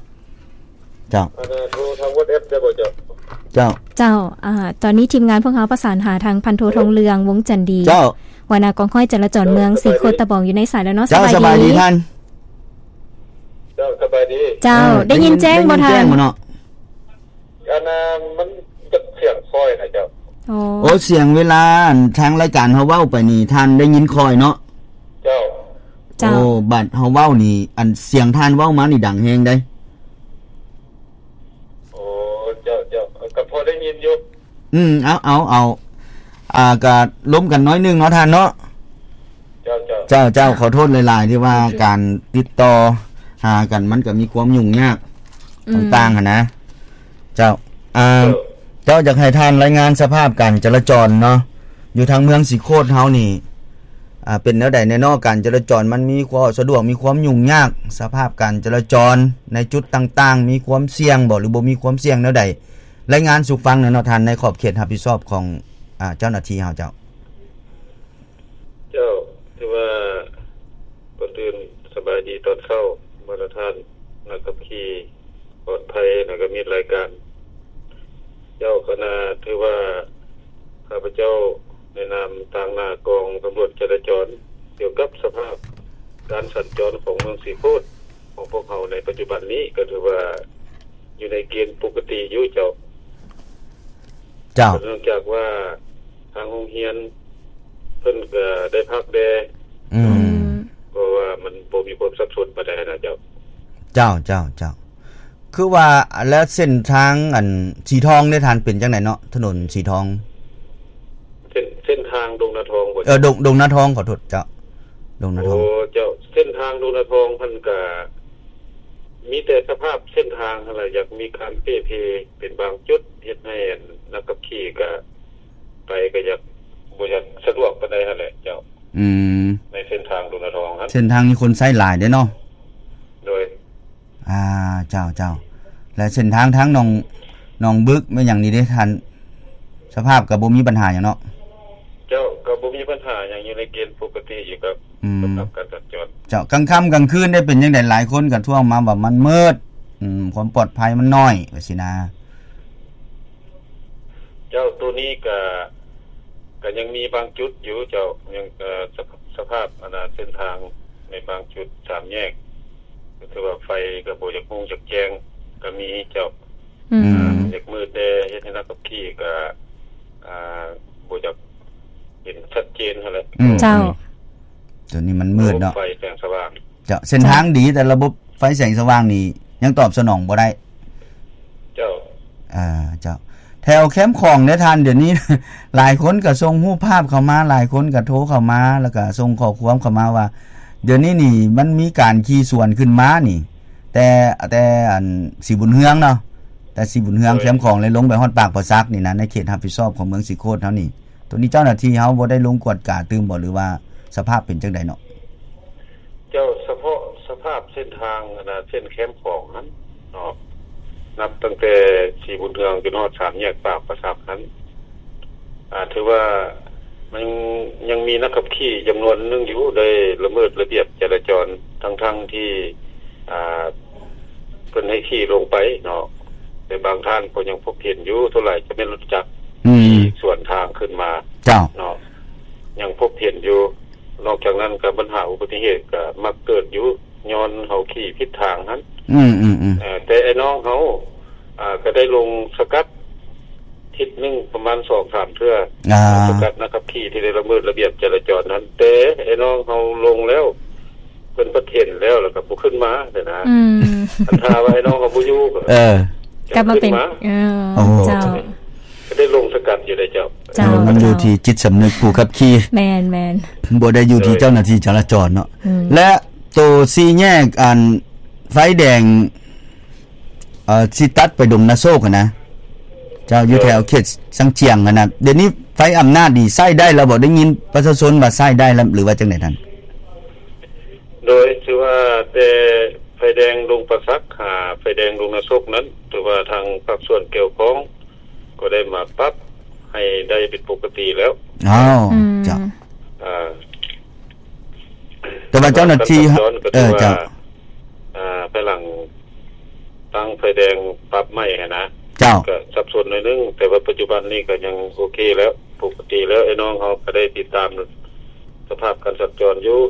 ເຈົ້າ ອັນນັ້ນໂທທາງ WhatsApp ໄດ້ບໍ່ເຈົ້າ? ເຈົ້າ ເຈົ້າ ອາ ຕອນນີ້ທີມງານພວກເຮົາປະສານຫາທາງພັນໂທທອງເຫຼືອງ ວົງຈັນດີ ເຈົ້າ ຫົວໜ້າກອງຮ້ອຍຈະລາຈອນເມືອງສີໂຄດຕະບອງ ຢູ່ໃນສາຍແລ້ວເນາະ ເຈົ້າ ສະບາຍດີ ສະບາຍດີທ່ານ ເຈົ້າ ສະບາຍດີ ເຈົ້າ ເອີ ໄດ້ຍິນແຈ້ງບໍ່ທ່ານ? ໄດ້ຍິນແຈ້ງບໍ່ເນາະ? ອັນນ່າ ມັນຈັກສຽງຂ້ອຍນະເຈົ້າ. ໂອ້ ໂອ້ ສຽງເວລາອັນທາງລາຍການເຮົາເວົ້າໄປນີ້ ທ່ານໄດ້ຍິນຂ້ອຍເນາະ? ເຈົ້າ ເຈົ້າ ໂອ້ ບາດເຮົາເວົ້ານີ້ ອັນສຽງທ່ານເວົ້າມານີ້ດັງແຮງເດ້. ໂອ້ ເຈົ້າ ເຈົ້າ ກໍພໍໄດ້ຍິນຢູ່. ອືມ ເອົາ ເອົາ ເອົາ ອ່າ ກະລົມກັນໜ້ອຍໜຶ່ງເນາະທ່ານເນາະ. ເຈົ້າ ເຈົ້າ ເຈົ້າ ເຈົ້າ ຂໍໂທດຫຼາຍໆ ທີ່ວ່າ ໂອເຄ ການຕິດຕໍ່ ຫາກັນ ມັນກໍມີຄວາມຫຍຸ້ງຍາກ ອືມ ຕ່າງໆຫັ້ນນະ. ເຈົ້າ ອ່າ ເຈົ້າ ເຈົ້າ ຢາກໃຫ້ທ່ານລາຍງານສະພາບການຈະລາຈອນເນາະ ຢູ່ທາງເມືອງສີໂຄດເຮົານີ້ ອ່າ ເປັນແນວໃດແດ່ເນາະ? ການຈະລາຈອນມັນມີຄວາມສະດວກ ມີຄວາມຫຍຸ້ງຍາກ ສະພາບການຈະລາຈອນໃນຈຸດຕ່າງໆ ມີຄວາມສ່ຽງບໍ່ ຫຼືບໍ່ມີຄວາມສ່ຽງແນວໃດ? ລາຍງານສູ່ຟັງແດ່ເນາະທ່ານ ໃນຂອບເຂດຮັບຜິດຊອບຂອງ ອ່າ ເຈົ້າໜ້າທີ່ເຮົາ. ເຈົ້າ ເຈົ້າ ຖືວ່າ ກ່ອນອື່ນສະບາຍດີຕອນເຊົ້າ ບັນດາທ່ານນັກຂັບຂີ່ປອດໄພ ແລ້ວກໍມິດລາຍການ. ເຈົ້າ ຄະນະ ຖືວ່າຂ້າພະເຈົ້າໃນນາມຕາງໜ້າກອງຕຳຫຼວດຈະລາຈອນ ກ່ຽວກັບສະພາບການສັນຈອນຂອງເມືອງສີໂຄດ ຂອງພວກເຮົາໃນປັດຈຸບັນນີ້ກໍຖືວ່າຢູ່ໃນເກນປົກກະຕິຢູ່ເຈົ້າ. ເຈົ້າ ເນື່ອງຈາກວ່າທາງໂຮງຮຽນເພິ່ນກໍໄດ້ພັກແດ່ ອືມ ເພາະວ່າມັນບໍ່ມີຄວາມສັບສົນປານໃດນະເຈົ້າ. ເຈົ້າ ເຈົ້າ ເຈົ້າ ຄືວ່າ ແລ້ວເສັ້ນທາງອັນສີທອງເດທ່ານ ເປັນຈັ່ງໃດເນາະ ຖະໜົນສີທອງ? ເສັ້ນ ເສັ້ນທາງດົງນາທອງບໍ່? ເອີ ດົງ ດົງນາທອງ ຂໍໂທດເຈົ້າ ດົງນາທອງ. ໂອ້ ເຈົ້າ ເສັ້ນທາງດົງນາທອງເພິ່ນກະມີແຕ່ສະພາບເສັ້ນທາງຫັ້ນລະ ຢາກມີການເປ່ເພເປັນບາງຈຸດ ເຮັດໃຫ້ອັນນັກຂັບຂີ່ກະໄປກະຢາກ ບໍ່ຢາກສະດວກປານໃດຫັ້ນແຫຼະເຈົ້າ. ອືມ ໃນເສັ້ນທາງດົງນາທອງຫັ້ນ ເສັ້ນທາງນີ້ຄົນໃຊ້ຫຼາຍເດ້ເນາະ. ໂດຍ ອ່າ ເຈົ້າ ເຈົ້າ ແລະເສັ້ນທາງທາງໜອງ ໜອງບຶກແມ່ນຫຍັງນີ້ເດ້ທ່ານ ສະພາບກໍບໍ່ມີບັນຫາຫຍັງເນາະ? ເຈົ້າ ກໍບໍ່ມີບັນຫາຫຍັງ ຢູ່ໃນເກນປົກກະຕິຢູ່ກັບ ອືມ ສະພາບການສັນຈອນ. ເຈົ້າ ກາງຄ່ຳກາງຄືນໄດ້ເປັນຈັ່ງໃດ? ຫຼາຍຄົນກໍທ້ວງມາວ່າມັນມືດ ອືມ ຄວາມປອດໄພມັນໜ້ອຍ ວ່າຊີ້ນະ. ເຈົ້າ ໂຕນີ້ກະ ກະຍັງມີບາງຈຸດຢູ່ເຈົ້າ ຍັງ ເອີ ສະ ສະພາບອັນນາ ເສັ້ນທາງໃນບາງຈຸດສາມແຍກ ກໍຖືວ່າໄຟກໍບໍ່ຢາກຮຸ່ງຢາກແຈ້ງກໍມີເຈົ້າ. ອືມ ອືມ ຢາກມືດແດ່ ເຮັດໃຫ້ນັກຂັບຂີ່ກໍ ອ່າ ບໍ່ຢາກເຫັນຊັດເຈນຫັ້ນແຫຼະ. ອືມ ເຈົ້າ ອືມ ຕົວນີ້ມັນມືດເນາະ ໄຟແສງສະຫວ່າງ. ເຈົ້າ ເສັ້ນທາງດີ ເຈົ້າ ແຕ່ລະບົບໄຟແສງສະຫວ່າງນີ້ຍັງຕອບສະໜອງບໍ່ໄດ້. ເຈົ້າ ອ່າ ເຈົ້າ ແຖວແຄມຂອງເດ້ທ່ານ ດຽວນີ້ ຫຼາຍຄົນກໍສົ່ງຮູບພາບເຂົ້າມາ ຫຼາຍຄົນກໍໂທເຂົ້າມາ ແລ້ວກໍສົ່ງຂໍ້ຄວາມເຂົ້າມາວ່າ ດຽວນີ້ນີ້ມັນມີການຂີ່ສວນຂຶ້ນມານີ້ ແຕ່ ແຕ່ອັນສີບຸນເຮືອງເນາະ ແຕ່ສີບຸນເຮືອງ ໂດຍ ແຄມຂອງ ແລະ ລົງໄປຮອດປາກປາສັກນີ້ນະ ໃນເຂດຮັບຜິດຊອບຂອງເມືອງສີໂຄດເຮົານີ້. ໂຕນີ້ເຈົ້າໜ້າທີ່ເຮົາບໍ່ໄດ້ລົງກວດກາຕື່ມບໍ່ ຫຼືວ່າສະພາບເປັນຈັ່ງໃດເນາະ? ເຈົ້າ ສະເພາະສະພາບເສັ້ນທາງອັນນະ ເສັ້ນແຄມຂອງຫັ້ນເນາະ ນັບຕັ້ງແຕ່ສີບຸນເຮືອງຈົນຮອດສາມແຍກປາກປາສັກຫັ້ນ ອ່າ ຖືວ່າມັນຍັງມີນັກຂັບຂີ່ຈຳນວນໜຶ່ງຢູ່ ໄດ້ລະເມີດລະບຽບຈະລາຈອນ ທັງໆທີ່ ອ່າ ເພິ່ນໃຫ້ຂີ່ລົງໄປເນາະ ແຕ່ບາງທ່ານກໍຍັງພົບເຫັນຢູ່ ສ່ວນຫຼາຍຈະແມ່ນລົດຈັກ ອືມ ທີ່ສວນທາງຂຶ້ນມາ ເຈົ້າ ເນາະ ຍັງພົບເຫັນຢູ່. ນອກຈາກນັ້ນກໍບັນຫາອຸບັດຕິເຫດກໍມັກເກີດຢູ່ ຍ້ອນເຮົາຂີ່ຜິດທາງຫັ້ນ. ອືມໆໆ ເອີ ແຕ່ອ້າຍນ້ອງເຮົາ ອ່າ ກໍໄດ້ລົງສະກັດທິດໜຶ່ງປະມານສອງສາມເທື່ອ ອ່າ ສະກັດນັກຂັບຂີ່ທີ່ໄດ້ລະເມີດລະບຽບຈະລາຈອນຫັ້ນ ແຕ່ອ້າຍນ້ອງເຮົາລົງແລ້ວ ເພິ່ນປະເຫັນແລ້ວ ແລ້ວກໍບໍ່ຂຶ້ນມາເດ້ນະ. ອືມ ຄັນຖ້າວ່າອ້າຍນ້ອງເຮົາບໍ່ຢູ່ ເອີ ກໍ ກັບມາເປັນ ເອີ ໂອ້ ເຈົ້າ ກໍໄດ້ລົງສະກັດຢູ່ເດ້ເຈົ້າ. ເຈົ້າ ມັນຢູ່ທີ່ຈິດສຳນຶກຜູ້ຂັບຂີ່. ແມ່ນໆ ບໍ່ໄດ້ຢູ່ທີ່ ໂດຍ ເຈົ້າໜ້າທີ່ຈະລາຈອນເນາະ. ອືມ ແລະໂຕສີ່ແຍກອັນໄຟແດງ ເອີ ຊິຕັດໄປດົງນາໂຊກຫັ້ນນະ ເຈົ້າ ຢູ່ ໂດຍ ແຖວເຂດຊາງຈຽງຫັ້ນນະ ດຽວນີ້ໄຟອຳນາດນີ້ໃຊ້ໄດ້ແລ້ວບໍ່? ໄດ້ຍິນປະຊາຊົນວ່າໃຊ້ໄດ້ແລ້ວ ຫຼືວ່າຈັ່ງໃດທ່ານ? ໂດຍ ຖືວ່າແຕ່ໄຟແດງດົງປາສັກ ຫາໄຟແດງດົງນາໂຊກນັ້ນ ຖືວ່າທາງພາກສ່ວນກ່ຽວຂ້ອງກໍໄດ້ມາປັບໃຫ້ໄດ້ເປັນປົກກະຕິແລ້ວ. ອ້າວ ອືມ ເຈົ້າ ອ່າ ແຕ່ວ່າເຈົ້າໜ້າທີ່ ການສັນຈອນກໍ ເອີ ຖືວ່າ ເຈົ້າ ອ່າ ພາຍຫຼັງຕັ້ງໄຟແດງປັບໃໝ່ຫັ້ນນະ ເຈົ້າ ກໍສັບສົນໜ້ອຍໜຶ່ງ ແຕ່ວ່າປັດຈຸບັນນີ້ກໍຍັງໂອເຄແລ້ວ ປົກກະຕິແລ້ວ. ອ້າຍນ້ອງເຮົາກໍໄດ້ຕິດຕາມສະພາບການສັນຈອນຢູ່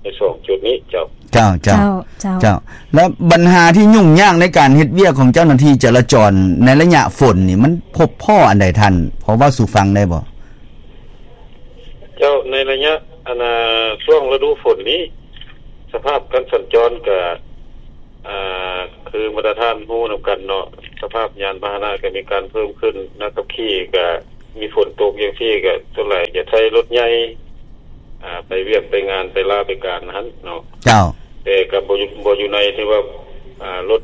ໃນສອງຈຸດນີ້ເຈົ້າ. ເຈົ້າ ເຈົ້າ ເຈົ້າ ເຈົ້າ ເຈົ້າ. ແລ້ວບັນຫາທີ່ຫຍຸ້ງຍາກໃນການເຮັດວຽກຂອງເຈົ້າໜ້າທີ່ຈະລາຈອນໃນໄລຍະຝົນນີ້ ມັນພົບພໍ້ອັນໃດທ່ານ ພໍເວົ້າສູ່ຟັງໄດ້ບໍ່? ເຈົ້າ ໃນໄລຍະ ອັນ ຊ່ວງລະດູຝົນນີ້ ສະພາບການສັນຈອນກະ ອ່າ ຄືບັນດາທ່ານຮູ້ນຳກັນເນາະ ສະພາບຍານພາຫະນະກະມີການເພີ່ມຂຶ້ນ ນັກຂັບຂີ່ກະມີຝົນຕົກຈັ່ງຊີ້ກະສ່ວນຫຼາຍຈະໃຊ້ລົດໃຫຍ່ ອ່າ ໄປວຽກໄປງານໄປລາໄປການຫັ້ນເນາະ. ເຈົ້າ. ແຕ່ກໍບໍ່ຢູ່ ບໍ່ຢູ່ໃນທີ່ວ່າ ອ່າ ລົດ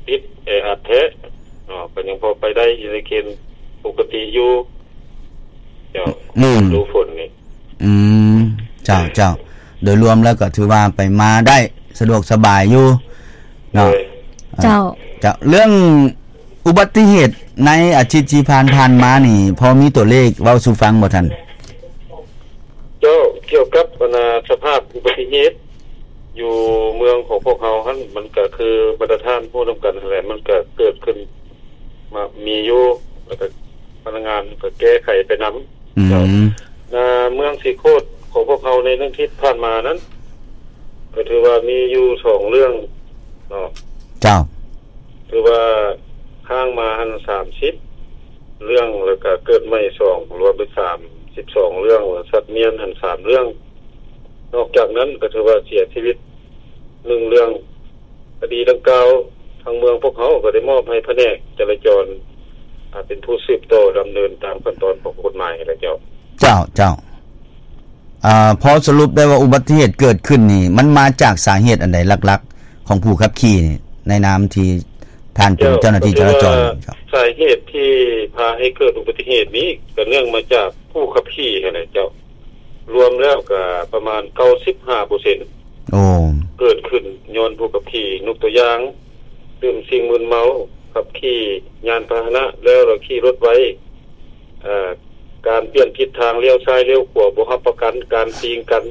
ຕິດແອອັດແທ້ເນາະ ກໍຍັງພໍໄປໄດ້ ຢູ່ໃນເກນປົກກະຕິຢູ່ເຈົ້າ. ອືມ ລະດູຝົນນີ້ ອືມ ເຈົ້າ ເຈົ້າ ໂດຍລວມແລ້ວກໍຖືວ່າໄປມາໄດ້ສະດວກສະບາຍຢູ່ເນາະ. ໂດຍ ເຈົ້າ ເຈົ້າ ເລື່ອງ ອຸບັດຕິເຫດໃນອາທິດທີ່ຜ່ານໆມານີ້ ພໍມີຕົວເລກເວົ້າສູ່ຟັງບໍ່ທ່ານ? ເຈົ້າ ກ່ຽວກັບອັນນາ ສະພາບອຸບັດຕິເຫດຢູ່ເມືອງຂອງພວກເຮົາຫັ້ນ ມັນກະຄືບັນດາທ່ານຮູ້ນຳກັນຫັ້ນແຫຼະ ມັນກະເກີດຂຶ້ນມາ ມີຢູ່ ແລ້ວກະພະນັກງານກະແກ້ໄຂໄປນຳ. ອືມ ເຈົ້າ ນາ ເມືອງສີໂຄດຂອງພວກເຮົາໃນໜຶ່ງທິດຜ່ານມານັ້ນ ກໍຖືວ່າມີຢູ່ສອງເລື່ອງເນາະ. ເຈົ້າ ຖືວ່າຄ້າງມາຫັ້ນສາມສິບເລື່ອງ ແລ້ວກະເກີດໃໝ່ສອງ ລວມເປັນສາມສິບສອງເລື່ອງ ແລ້ວສັດມ້ຽນຫັ້ນສາມເລື່ອງ. ນອກຈາກນັ້ນກໍຖືວ່າເສຍຊີວິດໜຶ່ງເລື່ອງ. ຄະດີດັ່ງກ່າວ ທາງເມືອງພວກເຮົາກໍໄດ້ມອບໃຫ້ພະແນກຈະລາຈອນ ອາ ເປັນຜູ້ສືບຕໍ່ດຳເນີນຕາມຂັ້ນຕອນຂອງກົດໝາຍແລ້ວເຈົ້າ. ເຈົ້າ ເຈົ້າ. ອາ ພໍສະຫຼຸບໄດ້ວ່າອຸບັດຕິເຫດເກີດຂຶ້ນນີ້ ມັນມາຈາກສາເຫດອັນໃດຫຼັກໆ ຂອງຜູ້ຂັບຂີ່ນີ້ ໃນນາມທີ່ທ່ານເປັນເຈົ້າໜ້າທີ່ຈະລາຈອນ? ເຈົ້າ ສາເຫດທີ່ພາໃຫ້ເກີດອຸບັດຕິເຫດນີ້ ກໍເນື່ອງມາຈາກຜູ້ຂັບຂີ່ຫັ້ນແຫຼະເຈົ້າ. ລວມແລ້ວກໍປະມານເກົ້າສິບຫ້າເປີເຊັນ ໂອ້ ເກີດຂຶ້ນຍ້ອນຜູ້ຂັບຂີ່. ຍົກຕົວຢ່າງ ດື່ມສິ່ງມຶນເມົາ, ຂັບຂີ່ຍານພາຫະນະແລ້ວລະຂີ່ລົດໄວ, ເອີ ການປ່ຽນທິດທາງ, ລ້ຽວຊ້າຍລ້ຽວຂວາບໍ່ຮັບປະກັນ, ການຕີງກັນ,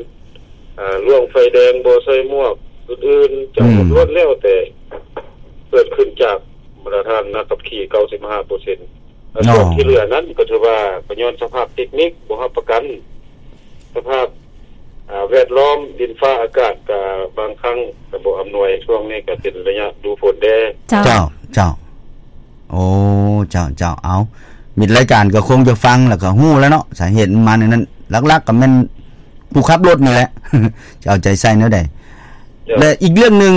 ເອີ ລ່ວງໄຟແດງບໍ່ໃສ່ໝວກ, ອື່ນໆ ເຈົ້າ ອືມ ລ້ວນແລ້ວແຕ່ເກີດຂຶ້ນຈາກມາດຕະຖານນັກຂັບຂີ່ເກົ້າສິບຫ້າເປີເຊັນ. ແລະ ເນາະ ສ່ວນທີ່ເຫຼືອນັ້ນກໍຖືວ່າກໍຍ້ອນສະພາບເຕັກນິກບໍ່ຮັບປະກັນ, ສະພາບ ອາ ແວດລ້ອມ, ດິນຟ້າອາກາດ ກະບາງຄັ້ງກະບໍ່ອຳນວຍ. ຊ່ວງນີ້ກະເປັນໄລຍະດູຝົນແດ່. ເຈົ້າ ເຈົ້າ ເຈົ້າ. ໂອ້ ເຈົ້າ ເຈົ້າ. ເອົາ ມິດລາຍການກໍຄົງຈະຟັງແລ້ວກໍຮູ້ແລ້ວເນາະ ສາເຫດມັນມາແນວນັ້ນ. ຫຼັກໆກໍແມ່ນຜູ້ຂັບລົດນີ້ແຫຼະ ຈະເອົາໃຈໃສ່ແນວໃດ. ເຈົ້າ ແລະ ອີກເລື່ອງໜຶ່ງ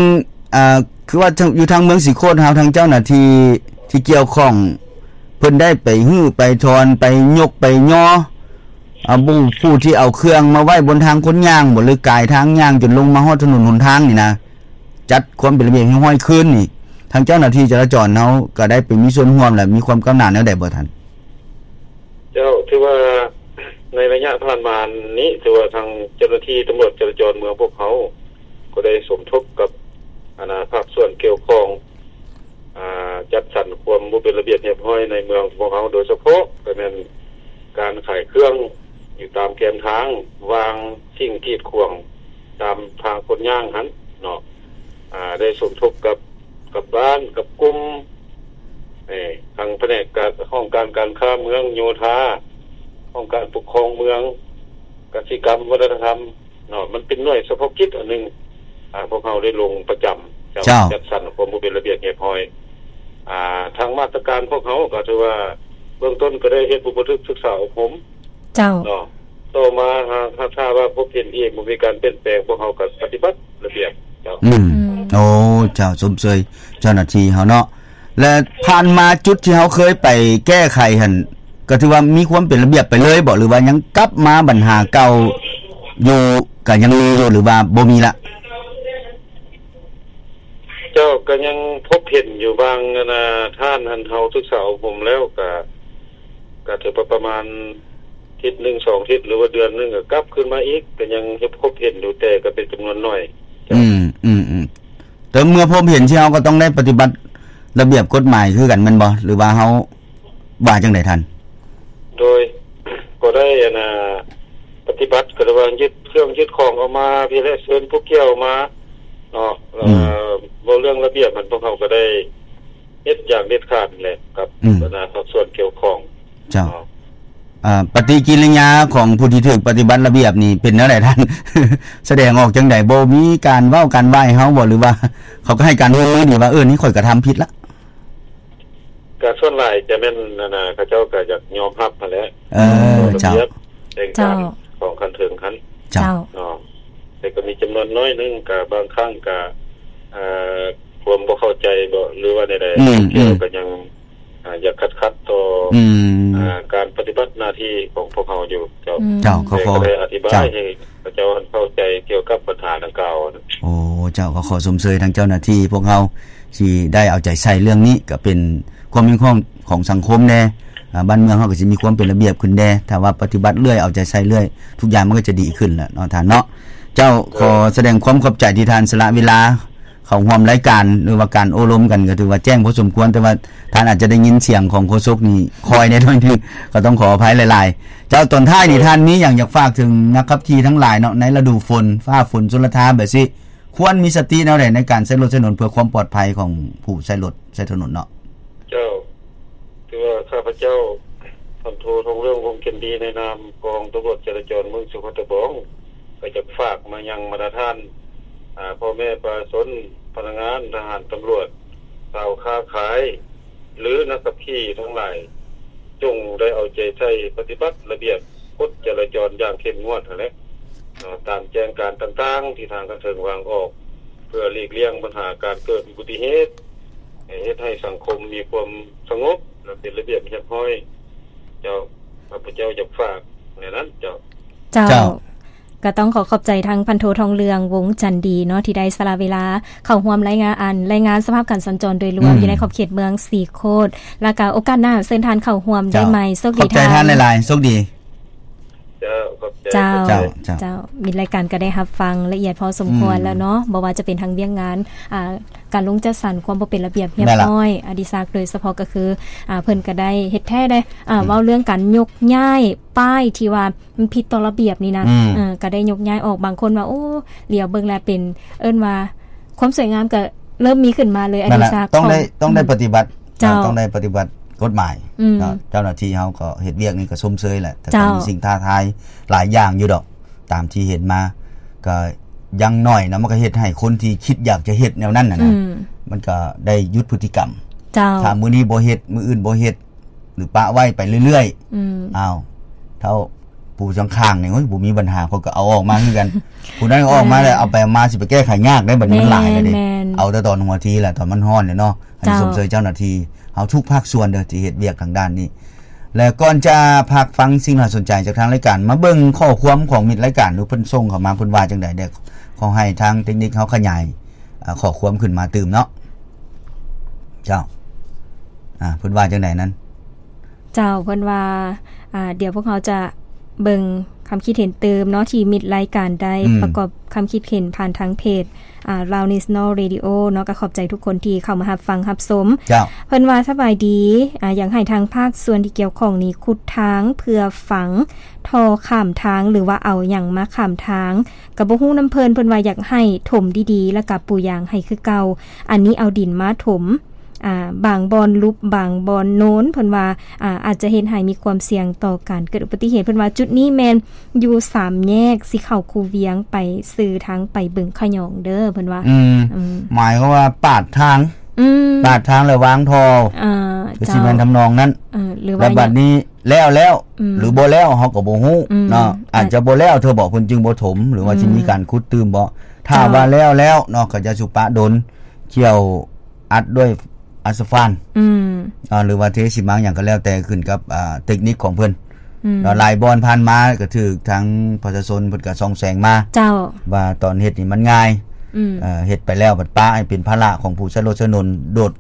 ອ່າ ຄືວ່າທາງ ຢູ່ທາງເມືອງສີໂຄດເຮົາ ທາງເຈົ້າໜ້າທີ່ທີ່ກ່ຽວຂ້ອງ ເພິ່ນໄດ້ໄປຮື້ໄປຖອນ ໄປຍົກໄປຍໍ ອາ ຜູ້ ຜູ້ທີ່ເອົາເຄື່ອງມາໄວ້ບົນທາງຄົນຍ່າງບໍ ຫຼື ກາຍທາງຍ່າງຈົນລົງມາຮອດຖະໜົນຫົນທາງນີ້ນະ ຈັດຄວາມເປັນລະບຽບຮຽບຮ້ອຍຄືນນີ້ ທາງເຈົ້າໜ້າທີ່ຈະລາຈອນເຮົາກໍໄດ້ໄປມີສ່ວນຮ່ວມ ແລະ ມີຄວາມກ້າວໜ້າແນວໃດບໍ່ທ່ານ? ເຈົ້າ ຖືວ່າໃນໄລຍະຜ່ານມານີ້ ຖືວ່າທາງເຈົ້າໜ້າທີ່ຕຳຫຼວດຈະລາຈອນເມືອງພວກເຮົາ ກໍໄດ້ສົມທົບກັບ ອັນນາ ພາກສ່ວນກ່ຽວຂ້ອງ ອາ ຈັດສັນຄວາມບໍ່ເປັນລະບຽບຮຽບຮ້ອຍໃນເມືອງຂອງພວກເຮົາ ໂດຍສະເພາະກໍແມ່ນການຂາຍເຄື່ອງຢູ່ຕາມແຄມທາງ ວາງສິ່ງກີດຂວາງຕາມທາງຄົນຍ່າງຫັ້ນເນາະ. ອາ ໄດ້ສົມທົບກັບ ກັບບ້ານ ກັບກຸ່ມ ເອີ ທາງພະແນກການ ຫ້ອງການການຄ້າເມືອງ, ໂຍທາ, ຫ້ອງການປົກຄອງເມືອງ, ກະສິກຳ, ວັດທະນະທຳ ເນາະ ມັນເປັນໜ່ວຍສະເພາະກິດອັນໜຶ່ງ ອາ ພວກເຮົາໄດ້ລົງປະຈຳ ເຈົ້າ ເຈົ້າ ຈັດສັນຄວາມບໍ່ເປັນລະບຽບຮຽບຮ້ອຍ. ອາ ທາງມາດຕະການພວກເຮົາກໍຖືວ່າເບື້ອງຕົ້ນກໍໄດ້ເຮັດອຸປະຖຶກສຶກສາອົບຮົມ ເຈົ້າ ເນາະ. ຕໍ່ມາຫາກ ຫາກຖ້າວ່າພົບເຫັນອີກ ບໍ່ມີການປ່ຽນແປງ ພວກເຮົາກໍປະຕິບັດລະບຽບ ເຈົ້າ. ອືມ ອືມ ໂອ້ ເຈົ້າ ຊົມເຊີຍເຈົ້າໜ້າທີ່ເຮົາເນາະ. ແລະ ຜ່ານມາຈຸດທີ່ເຮົາເຄີຍໄປແກ້ໄຂຫັ້ນ ກໍຖືວ່າມີຄວາມເປັນລະບຽບໄປເລີຍບໍ ຫຼືວ່າຍັງກັບມາບັນຫາເກົ່າຢູ່ ກໍຍັງມີຢູ່ ຫຼືວ່າບໍ່ມີລະ? ເຈົ້າ ກໍຍັງພົບເຫັນຢູ່ບາງ ອັນນາ ທ່ານ ອັນເຮົາສຶກສາອົບຮົມແລ້ວ ກໍ ກໍຖືວ່າປະມານທິດໜຶ່ງສອງທິດ ຫຼືວ່າເດືອນໜຶ່ງ ກໍກັບຄືນມາອີກ ກໍຍັງພົບເຫັນຢູ່ ແຕ່ກໍເປັນຈຳນວນໜ້ອຍ. ອືມ ອືມ ອືມ. ແຕ່ເມື່ອພົບເຫັນ ທີ່ເຮົາກໍຕ້ອງໄດ້ປະຕິບັດລະບຽບກົດໝາຍຄືກັນແມ່ນບໍ່ ຫຼືວ່າເຮົາວ່າຈັ່ງໃດທ່ານ? ໂດຍ ກໍໄດ້ ອັນນາ ປະຕິບັດ ກໍໄດ້ວ່າຍຶດເຄື່ອງຍຶດຂອງອອກມາ ພີ້ແຫຼະ ເຊີນຜູ້ກ່ຽວມາເນາະ. ອືມ ເວົ້າເລື່ອງລະບຽບຫັ້ນ ພວກເຮົາກໍໄດ້ເຮັດຢ່າງເດັດຂາດແຫຼະ ກັບ ອືມ ບັນດາພາກສ່ວນກ່ຽວຂ້ອງ. ເຈົ້າ ເນາະ ອາ ປະຕິກິລິຍາຂອງຜູ້ທີ່ຖືກປະຕິບັດລະບຽບນີ້ເປັນແນວໃດທ່ານ? ສະແດງອອກຈັ່ງໃດ? ບໍ່ມີການເວົ້າການຫວ້າໃຫ້ເຮົາບໍ່ ຫຼືວ່າເຂົາກໍໃຫ້ການຮ່ວມມືດີວ່າ ເອີ ນີ້ຂ້ອຍກະທຳຜິດລະ? ກະສ່ວນຫຼາຍຈະແມ່ນ ອັນນາ ເຂົາເຈົ້າກະຢາກຍອມຮັບຫັ້ນແຫຼະ. ເອີ ເຈົ້າ ລະບຽບແຕ່ງການ ເຈົ້າ ຂອງຂັ້ນເທິງຫັ້ນ ເຈົ້າ ເນາະ. ແຕ່ກໍມີຈຳນວນໜ້ອຍໜຶ່ງ ກະບາງຄັ້ງກະ ເອີ ຄວາມບໍ່ເຂົ້າໃຈບໍ ຫຼືວ່າແນວໃດ ອືມ ເຂົາເຈົ້າ ອືມ ກໍຍັງ ອາ ຢາກຂັດໆຕໍ່ ອືມ ອາ ການປະຕິບັດໜ້າທີ່ຂອງພວກເຮົາຢູ່ ເຈົ້າ. ອືມ ເຈົ້າ ກໍ ແຕ່ກໍໄດ້ອະທິບາຍ ເຈົ້າ ໃຫ້ເຂົາເຈົ້າເຂົ້າໃຈກ່ຽວກັບບັນຫາດັ່ງກ່າວ. ໂອ້ ເຈົ້າ ກໍຂໍຊົມເຊີຍທາງເຈົ້າໜ້າທີ່ພວກເຮົາທີ່ໄດ້ເອົາໃຈໃສ່ເລື່ອງນີ້ ກໍເປັນຄວາມເຫັນຂອງ ຂອງສັງຄົມແດ່. ອ່າ ບ້ານເມືອງເຮົາກໍຊິມີຄວາມເປັນລະບຽບຂຶ້ນແດ່ ຖ້າວ່າປະຕິບັດເລື້ອຍ ເອົາໃຈໃສ່ເລື້ອຍ ທຸກຢ່າງມັນກໍຈະດີຂຶ້ນແຫຼະເນາະທ່ານເນາະ. ເຈົ້າ ເອີ ຂໍສະແດງຄວາມຂອບໃຈທີ່ທ່ານສະຫຼະເວລາເຂົ້າຮ່ວມລາຍການ ຫຼືວ່າການໂອ້ລົມກັນ ກໍຖືວ່າແຈ້ງພໍສົມຄວນ ແຕ່ວ່າທ່ານອາດຈະໄດ້ຍິນສຽງຂອງໂຄສົກນີ້ຄ່ອຍແດ່ໜ້ອຍໜຶ່ງ ກໍຕ້ອງຂໍອະໄພຫຼາຍໆ. ເຈົ້າ ຕອນທ້າຍນີ້ ເອີ ທ່ານມີຫຍັງຢາກຝາກເຖິງນັກຂັບຂີ່ທັງຫຼາຍເນາະ ໃນລະດູຝົນ ຟ້າຝົນ ຊົນລະທານແບບຊີ້ ຄວນມີສະຕິແນວໃດໃນການໃຊ້ລົດໃຊ້ຖະໜົນ ເພື່ອຄວາມປອດໄພຂອງຜູ້ໃຊ້ລົດໃຊ້ຖະໜົນເນາະ? ເຈົ້າ ຄືວ່າຂ້າພະເຈົ້າ ພັນໂທ ທອງເລື່ອງ ວົງຈັນດີ ໃນນາມກອງຕຳຫຼວດຈະລາຈອນເມືອງສຸພັດຕະບອງ ກໍຢາກຝາກມາຍັງບັນດາທ່ານ ອາ ພໍ່ແມ່ປະຊາຊົນ, ພະນັກງານ, ທະຫານ, ຕຳຫຼວດ, ຊາວຄ້າຂາຍ ຫຼື ນັກຂັບຂີ່ທັງຫຼາຍ ຈົ່ງໄດ້ເອົາໃຈໃສ່ປະຕິບັດລະບຽບກົດຈະລາຈອນຢ່າງເຂັ້ມງວດຫັ້ນແຫຼະເນາະ ຕາມແຈ້ງການຕ່າງໆ ທີ່ທາງຂັ້ນເທິງວາງອອກ ເພື່ອຫຼີກລ່ຽງບັນຫາການເກີດອຸບັດຕິເຫດ ໃຫ້ເຮັດໃຫ້ສັງຄົມມີຄວາມສະຫງົບ ແລະ ເປັນລະບຽບຮຽບຮ້ອຍ. ເຈົ້າ ຂ້າພະເຈົ້າຢາກຝາກແນວນັ້ນເຈົ້າ. ເຈົ້າ ເຈົ້າ ກໍຕ້ອງຂໍຂອບໃຈທາງພັນໂທ ທອງເລື່ອງ ວົງຈັນດີເນາະ ທີ່ໄດ້ສະຫຼະເວລາເຂົ້າຮ່ວມລາຍງານ ອັນ ລາຍງານສະພາບການສັນຈອນໂດຍລວມ ອືມ ຢູ່ໃນຂອບເຂດເມືອງສີໂຄດ ແລ້ວກໍໂອກາດໜ້າເຊີນທ່ານເຂົ້າຮ່ວມໄດ້ໃໝ່. ເຈົ້າ ໂຊກດີ ຂອບໃຈທ່ານ ທ່ານຫຼາຍໆ ໂຊກດີ. ເຈົ້າ ຂອບໃຈ ເຈົ້າ ເຈົ້າ ເຈົ້າ ເຈົ້າ ມິດລາຍການກໍໄດ້ຮັບຟັງລະອຽດພໍສົມຄວນ ອືມ ແລ້ວເນາະ ບໍ່ວ່າຈະເປັນທາງວຽກງານ ອ່າ ການລົງຈັດສັນຄວາມບໍ່ເປັນລະບຽບຮຽບຮ້ອຍ ອະດິສັກ ໂດຍສະເພາະກໍຄື ອ່າ ເພິ່ນກໍໄດ້ເຮັດແທ້ເດ້ ອ່າ ອືມ ເວົ້າເລື່ອງການຍົກຍ້າຍປ້າຍທີ່ວ່າມັນຜິດຕໍ່ລະບຽບນີ້ນະ ອືມ ເອີ ກໍໄດ້ຍົກຍ້າຍອອກ. ບາງຄົນວ່າ ໂອ້ ຫຼຽວເບິ່ງແລ້ວເປັນ ເອີ້ນວ່າຄວາມສວຍງາມກໍເລີ່ມມີຂຶ້ນມາເລີຍ ອະດິສັກ ຕ້ອງໄດ້ ຂອງ ຕ້ອງໄດ້ປະຕິບັດ ເຈົ້າ ຕ້ອງໄດ້ປະຕິບັດກົດໝາຍ ອືມ ເນາະ. ເຈົ້າໜ້າທີ່ເຮົາກໍເຮັດວຽກນີ້ກໍຊົມເຊີຍແຫຼະ ແຕ່ ເຈົ້າ ກໍມີສິ່ງທ້າທາຍຫຼາຍຢ່າງຢູ່ດອກ ຕາມທີ່ເຫັນມາ ກໍຢ່າງໜ້ອຍນະ ມັນກໍເຮັດໃຫ້ຄົນທີ່ຄິດຢາກຈະເຮັດແນວນັ້ນນະ ອືມ ມັນກໍໄດ້ຢຸດພຶດຕິກຳ. ເຈົ້າ ຖ້າມື້ນີ້ບໍ່ເຮັດ ມື້ອື່ນບໍ່ເຮັດ ຫຼືປະໄວ້ໄປເລື້ອຍໆ ອືມ ອ້າວ ເຖົ້າປູສັງຂາງນີ້ ໂອ້ຍ ບໍ່ມີບັນຫາ ເຂົາກໍເອົາອອກມາຄືກັນ ຜູ້ນັ້ນກໍອອກມາແລ້ວ ເອີ ເອົາໄປເອົາມາຊິໄປແກ້ໄຂຍາກເດ້ ບັດນີ້ມັນຫຼາຍແລ້ວເດ້ ແມ່ນໆ ເອົາແຕ່ຕອນຫົວທີແຫຼະ ຕອນມັນຮ້ອນແຫຼະເນາະ. ອັນນີ້ ເຈົ້າ ຊົມເຊີຍເຈົ້າໜ້າທີ່ເຮົາທຸກພາກສ່ວນເດີ້ ທີ່ເຮັດວຽກທາງດ້ານນີ້. ແລະ ກ່ອນຈະພັກຟັງສິ່ງໜ້າສົນໃຈຈາກທາງລາຍການ ມາເບິ່ງຂໍ້ຄວາມຂອງມິດລາຍການດູ ເພິ່ນສົ່ງເຂົ້າມາ ເພິ່ນວ່າຈັ່ງໃດແດ່? ຂໍໃຫ້ທາງເຕັກນິກເຮົາຂະຫຍາຍ ອ່າ ຂໍ້ຄວາມຂຶ້ນມາຕື່ມເນາະ. ເຈົ້າ ອ່າ ເພິ່ນວ່າຈັ່ງໃດນັ້ນ? ເຈົ້າ ເພິ່ນວ່າ ອ່າ ດຽວພວກເຮົາຈະເບິ່ງຄຳຄິດເຫັນຕື່ມເນາະ ທີ່ມິດລາຍການໄດ້ ອືມ ປະກອບຄຳຄິດເຫັນຜ່ານທາງເພຈ ອ່າ Loud National Radio ເນາະ. ກໍຂອບໃຈທຸກຄົນທີ່ເຂົ້າມາຮັບຟັງຮັບຊົມ. ເຈົ້າ ເພິ່ນວ່າ ສະບາຍດີ ອ່າ ຢາກໃຫ້ທາງພາກສ່ວນທີ່ກ່ຽວຂ້ອງນີ້ຂຸດທາງເພື່ອຝັງທໍ່ຂ້າມທາງ ຫຼືວ່າເອົາຫຍັງມາຂ້າມທາງ ກໍບໍ່ຮູ້ນຳເພິ່ນ. ເພິ່ນວ່າຢາກໃຫ້ຖົມດີໆ ແລ້ວກໍປູຢາງໃຫ້ຄືເກົ່າ. ອັນນີ້ເອົາດິນມາຖົມ ອ່າ ບາງບ່ອນຫຼຸບ ບາງບ່ອນໂນນ ເພິ່ນວ່າ ອ່າ ອາດຈະເຮັດໃຫ້ມີຄວາມສ່ຽງຕໍ່ການເກີດອຸບັດຕິເຫດ. ເພິ່ນວ່າຈຸດນີ້ແມ່ນຢູ່ສາມແຍກ ຊິເຂົ້າຄູວຽງ ໄປຊື່ທາງໄປບຶງຂະຫຍອງເດີ້ ເພິ່ນວ່າ. ອືມ ອືມ ໝາຍຄວາມວ່າປາດທາງ ອືມ ປາດທາງແລ້ວວາງທໍ່ ອ່າ ຄືຊິແມ່ນ ເຈົ້າ ທຳນອງນັ້ນ ເອີ ຫຼືວ່າ ແລ້ວບັດນີ້ແລ້ວແລ້ວ ອືມ ຫຼືບໍ່ແລ້ວ ເຮົາກໍບໍ່ຮູ້ ອືມ ເນາະ. ອາດຈະບໍ່ແລ້ວເທື່ອບໍ ເພິ່ນຈຶ່ງບໍ່ຖົມ ຫຼືວ່າ ອືມ ຊິມີການຂຸດຕື່ມບໍ? ຖ້າ ເຈົ້າ ວ່າແລ້ວແລ້ວເນາະ ກໍຢ່າສູ່ປະດົນ ຂ້ຽວອັດດ້ວຍອາສະຟານ ອືມ ເນາະ ຫຼືວ່າເທຊີມັງຫຍັງກໍແລ້ວແຕ່ ຂຶ້ນກັບ ອ່າ ເຕັກນິກຂອງເພິ່ນ ອືມ ເນາະ. ຫຼາຍບ່ອນຜ່ານມາກໍຖືກທາງປະຊາຊົນເພິ່ນກໍສ່ອງແສງມາ ເຈົ້າ ວ່າຕອນເຮັດນີ້ມັນງ່າຍ ອືມ ເອີ ເຮັດໄປແລ້ວບັດປະໃຫ້ເປັນພາລະຂອງຜູ້ໃຊ້ລົດໃຊ້ຖະໜົນ ໂດດ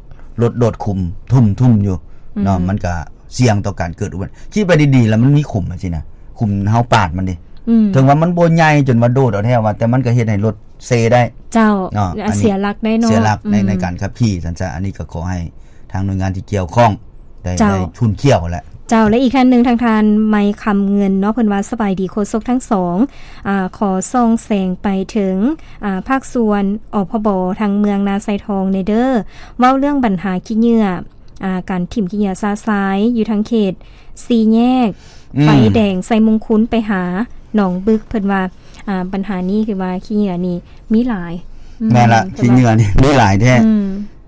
ລົດໂດດຂຸມທຸ່ມໆຢູ່ ອືມ ເນາະ ມັນກໍສ່ຽງຕໍ່ການເກີດອຸບັດຕິເຫດ. ຄິດໄປດີໆ ແລ້ວມັນມີຂຸມຈັ່ງຊີ້ນະ ຂຸມເຮົາປາດມັນເດ້ ອືມ ເຖິງວ່າມັນບໍ່ໃຫຍ່ຈົນວ່າໂດດເອົາແທ້ວ່າ ແຕ່ມັນກໍເຮັດໃຫ້ລົດເຊໄດ້ ເຈົ້າ ເນາະ ອາ ອັນນີ້ເສຍຫຼັກໄດ້ເນາະ ເສຍຫຼັກໃນ ອືມ ໃນການຂັບຂີ່ ຊັ້ນຊະ. ອັນນີ້ກໍຂໍໃຫ້ທາງໜ່ວຍງານທີ່ກ່ຽວຂ້ອງໄດ້ ເຈົ້າ ໄດ້ທຸ່ນຂຽວແຫຼະ. ເຈົ້າ ແລະ ອີກທ່ານໜຶ່ງ ທາງທ່ານໄມຄຳເງິນເນາະ ເພິ່ນວ່າ ສະບາຍດີໂຄສົກທັງສອງ ອາ ຂໍສ່ອງແສງໄປເຖິງ ອາ ພາກສ່ວນ ອພບ ທາງເມືອງນາຊາຍທອງແດ່ເດີ້ ເວົ້າເລື່ອງບັນຫາຂີ້ເຫຍື້ອ ອາ ການຖິ້ມຂີ້ເຫຍື້ອຊະຊາຍຢູ່ທາງເຂດສີ່ແຍກ ອືມ ໄຟແດງໄຊມຸງຄຸນໄປຫາໜອງບຶກ ເພິ່ນວ່າ ອາ ບັນຫານີ້ຄືວ່າຂີ້ເຫຍື້ອນີ້ມີຫຼາຍ ອືມ ແມ່ນລະ ເພິ່ນວ່າ ຂີ້ເຫຍື້ອນີ້ມີຫຼາຍແທ້ ອືມ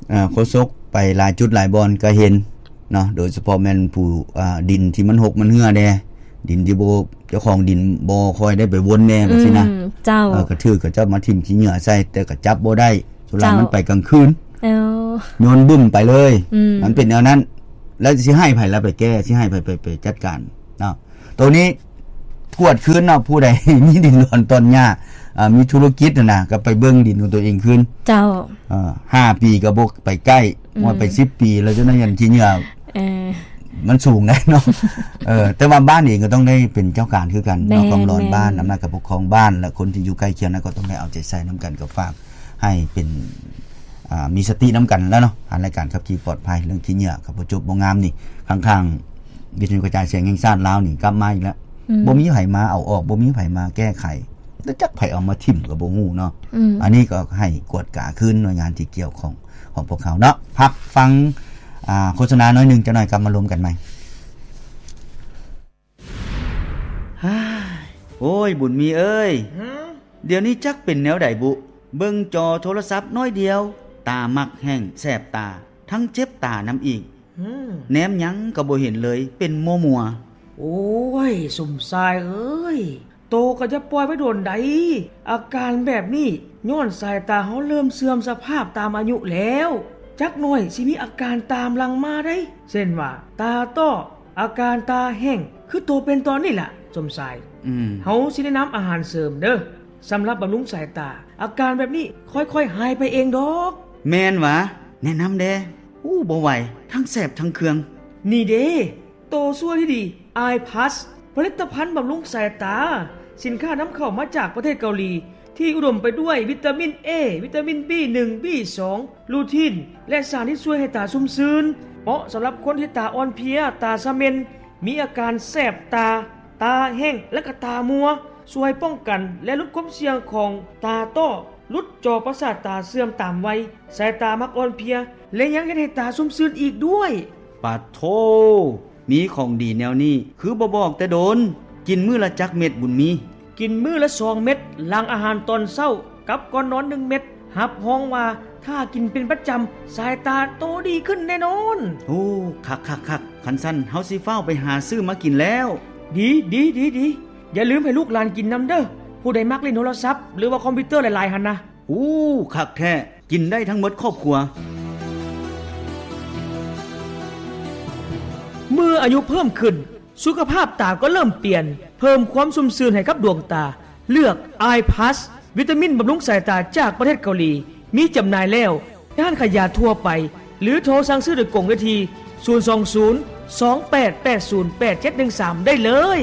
ເອີ ໂຄສົກໄປຫຼາຍຈຸດຫຼາຍບ່ອນກໍເຫັນເນາະ ໂດຍສະເພາະແມ່ນຜູ້ ອາ ດິນທີ່ມັນຫົກມັນເຫື່ອແດ່ ດິນທີ່ບໍ່ ເຈົ້າຂອງດິນບໍ່ຄ່ອຍໄດ້ໄປວົນແດ່ ອືມ ວ່າຊີ້ນະ ເຈົ້າ ເອີ ກະຖືກເຂົາເຈົ້າມາຖິ້ມຂີ້ເຫຍື້ອໃສ່ ແຕ່ກະຈັບບໍ່ໄດ້ ສ່ວນຫຼາຍ ເຈົ້າ ມັນໄປກາງຄືນ ເອີ ໂຍນບຶ້ມໄປເລີຍ ອືມ ມັນເປັນແນວນັ້ນ ແລ້ວຊິໃຫ້ໃຜລະໄປແກ້ ຊິໃຫ້ໃຜໄປ ໄປຈັດການເນາະ ໂຕນີ້ ກວດຄືນເນາະ ຜູ້ໃດມີດິນດອນຕອນຫຍ້າ ອ່າ ມີທຸລະກິດຫັ້ນນະ ກໍໄປເບິ່ງດິນຂອງຕົວເອງຄືນ. ເຈົ້າ. ເອີ ຫ້າປີກໍບໍ່ໄປໃກ້ ອືມ ວ່າໄປສິບປີແລ້ວ ຈົນນັ້ນຍັງຂີ້ເຫຍື້ອ ເອີ ມັນສູງໄດ໋ເນາະ. ເອີ ແຕ່ວ່າບ້ານເອງກໍຕ້ອງໄດ້ເປັນເຈົ້າການຄືກັນເນາະ ແມ່ນ ຄວາມຮ້ອນບ້ານ ແມ່ນ ອຳນາດການປົກຄອງບ້ານ ແລະ ຄົນທີ່ຢູ່ໃກ້ຄຽງນັ້ນກໍຕ້ອງໄດ້ເອົາໃຈໃສ່ນຳກັນ ກໍຝາກໃຫ້ເປັນ ອ່າ ມີສະຕິນຳກັນແລ້ວເນາະ ຜ່ານລາຍການຂັບຂີ່ປອດໄພ ເລື່ອງຂີ້ເຫຍື້ອ ກໍບໍ່ຈົບບໍ່ງາມນີ້ ຂ້າງໆ ວິທະຍຸກະຈາຍສຽງແຫ່ງຊາດລາວນີ້ກັບມາອີກແລ້ວ ອືມ ບໍ່ມີໃຜມາເອົາອອກ ບໍ່ມີໃຜມາແກ້ໄຂ ແລ້ວຈັກໃຜເອົາມາຖິ້ມກໍບໍ່ຮູ້ເນາະ. ອືມ ອັນນີ້ກໍໃຫ້ກວດກາຄືນໜ່ວຍງານທີ່ກ່ຽວຂ້ອງຂອງພວກເຮົາເນາະ. ພັກຟັງ ອ່າ ໂຄສະນາໜ້ອຍໜຶ່ງ ຈັກໜ່ອຍກັບມາລົມກັນໃໝ່. ໂອ້ຍ ບຸນມີເອີຍ ຫື? ດຽວນີ້ຈັກເປັນແນວໃດບຸ ເບິ່ງຈໍໂທລະສັບໜ້ອຍດຽວ ຕາມັກແຫ້ງແສບຕາ ທັງເຈັບຕານຳອີກ ຫື? ແນມຫຍັງກໍບໍ່ເຫັນເລີຍ ເປັນມົວໆ. ໂອ້ຍ ສົມຊາຍເອີຍ ໂຕກໍຢ່າປ່ອຍໄວ້ດົນໃດ໋ ອາການແບບນີ້ ຍ້ອນສາຍຕາເຮົາເລີ່ມເສື່ອມສະພາບຕາມອາຍຸແລ້ວ ຈັກໜ້ອຍຊິມີອາການຕາມຫຼັງມາໄດ໋ ເຊັ່ນວ່າ ຕາຕ້ອ ອາການຕາແຫ້ງ ຄືໂຕເປັນຕອນນີ້ລະ ສົມຊາຍ. ອືມ ເຮົາຊິແນະນຳອາຫານເສີມເດີ້ ສຳລັບບຳລຸງສາຍຕາ ອາການແບບນີ້ຄ່ອຍໆຫາຍໄປເອງດອກ. ແມ່ນຫວາ? ແນະນຳແດ່. ໂອ້ ບໍ່ໄຫວ ທັງແສບທັງເຄືອງ. ນີ້ເດ້ ໂຕຊ່ວຍທີ່ດີ Eye Plus ຜະລິດຕະພັນບຳລຸງສາຍຕາ ສິນຄ້ານຳເຂົ້າມາຈາກປະເທດເກົາຫຼີ ທີ່ອຸດົມໄປດ້ວຍວິຕາມິນ A ວິຕາມິນ B ໜຶ່ງ B ສອງ ລູທີນ ແລະ ສານທີ່ຊ່ວຍໃຫ້ຕາຊຸ່ມຊື່ນ ເໝາະສຳລັບຄົນທີ່ຕາອ່ອນເພຍ, ຕາສະເໝັ່ນ, ມີອາການແສບຕາ, ຕາແຫ້ງ ແລະ ກະຕາມົວ, ຊ່ວຍປ້ອງກັນ ແລະ ຫຼຸດຄວາມສ່ຽງຂອງຕາຕ້ອ, ຫຼຸດຈໍປະສາດຕາເສື່ອມຕາມໄວ, ສາຍຕາມັກອ່ອນເພຍ ແລະ ຍັງເຮັດໃຫ້ຕາຊຸ່ມຊື່ນອີກດ້ວຍ. ປາດໂທ້! ມີຂອງດີແນວນີ້ ຄືບໍ່ບອກແຕ່ດົນ? ກິນມື້ລະຈັກເມັດ ບຸນມີ? ກິນມື້ລະສອງເມັດ ຫຼັງອາຫານຕອນເຊົ້າ ກັບກ່ອນນອນໜຶ່ງເມັດ. ຮັບຮອງວ່າຖ້າກິນເປັນປະຈຳ ສາຍຕາໂຕດີຂຶ້ນແນ່ນອນ. ໂອ້ ຄັກໆໆ ຄັນຊັ້ນເຮົາຊິຟ້າວໄປຫາຊື້ມາກິນແລ້ວ. ດີໆໆ ຢ່າລືມໃຫ້ລູກຫຼານກິນນຳເດີ້ ຜູ້ໃດມັກຫຼິ້ນໂທລະສັບ ຫຼືວ່າຄອມພິວເຕີຫຼາຍໆຫັ້ນນະ. ໂອ້ ຄັກແທ້ ກິນໄດ້ທັງໝົດຄອບຄົວ. ເມື່ອອາຍຸເພີ່ມຂຶ້ນ ສຸຂະພາບຕາກໍເລີ່ມປ່ຽນ, ເພີ່ມຄວາມຊຸ່ມຊື່ນໃຫ້ກັບດວງຕາ. ເລືອກ Eye Plus ວິຕາມິນບຳລຸງສາຍຕາຈາກປະເທດເກົາຫຼີ, ມີຈຳໜ່າຍແລ້ວ ຮ້ານຂາຍຢາທົ່ວໄປ ຫຼືໂທສັ່ງຊື້ໂດຍກົງໄດ້ທີ່ ສູນສອງສູນ ສອງແປດແປດສູນ ແປດເຈັດໜຶ່ງສາມ ໄດ້ເລີຍ.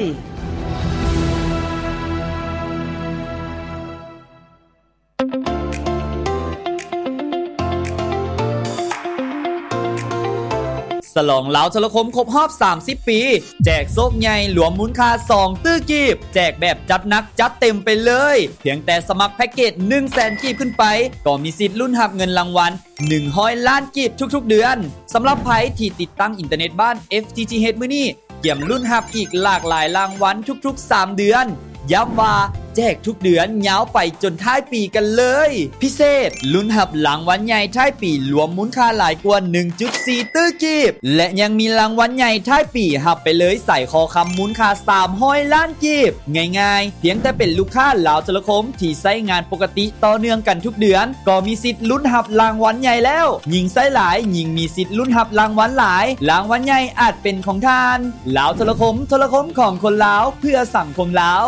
ສະຫຼອງລາວໂທລະຄົມຄົບຮອບສາມສິບປີ ແຈກໂຊກໃຫຍ່ລວມມູນຄ່າສອງຕື້ກີບ, ແຈກແບບຈັດໜັກຈັດເຕັມໄປເລີຍ. ພຽງແຕ່ສະໝັກແພັກເກດໜຶ່ງແສນກີບຂຶ້ນໄປ ກໍມີສິດລຸ້ນຮັບເງິນລາງວັນໜຶ່ງຮ້ອຍລ້ານກີບທຸກໆເດືອນ. ສຳລັບໃຜທີ່ຕິດຕັ້ງອິນເຕີເນັດບ້ານ FTTH ມື້ນີ້ ກຽມລຸ້ນຮັບອີກຫຼາກຫຼາຍລາງວັນທຸກໆສາມເດືອນ. ຢ້ຳວ່າແຈກທຸກເດືອນຍາວໄປຈົນທ້າຍປີກັນເລີຍ. ພິເສດ, ລຸ້ນຮັບລາງວັນໃຫຍ່ທ້າຍປີລວມມູນຄ່າຫຼາຍກວ່າໜຶ່ງຈຸດສີ່ຕື້ກີບ ແລະ ຍັງມີລາງວັນໃຫຍ່ທ້າຍປີຮັບໄປເລີຍສາຍຄໍຄຳມູນຄ່າສາມຮ້ອຍລ້ານກີບ. ງ່າຍໆ, ພຽງແຕ່ເປັນລູກຄ້າລາວໂທລະຄົມທີ່ໃຊ້ງານປົກກະຕິຕໍ່ເນື່ອງກັນທຸກເດືອນ ກໍມີສິດລຸ້ນຮັບລາງວັນໃຫຍ່ແລ້ວ. ຍິ່ງໃຊ້ຫຼາຍ, ຍິ່ງມີສິດລຸ້ນຮັບລາງວັນຫຼາຍ. ລາງວັນໃຫຍ່ອາດເປັນຂອງທ່ານ. ລາວໂທລະຄົມ, ໂທລະຄົມຂອງຄົນລາວ, ເພື່ອສັງຄົມລາວ.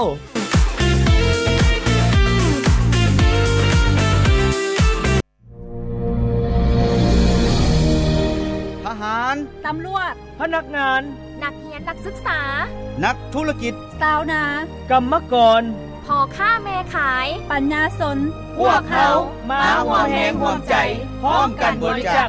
ທະຫານ, ຕຳຫຼວດ, ພະນັກງານ, ນັກຮຽນ, ນັກສຶກສາ, ນັກທຸລະກິດ, ຊາວນາ, ກຳມະກອນ, ພໍ່ຄ້າແມ່ຂາຍ, ປັນຍາຊົນ, ພວກເຮົາມາຮ່ວມແຮງຮ່ວມໃຈ ພ້ອມກັນບໍລິຈາກ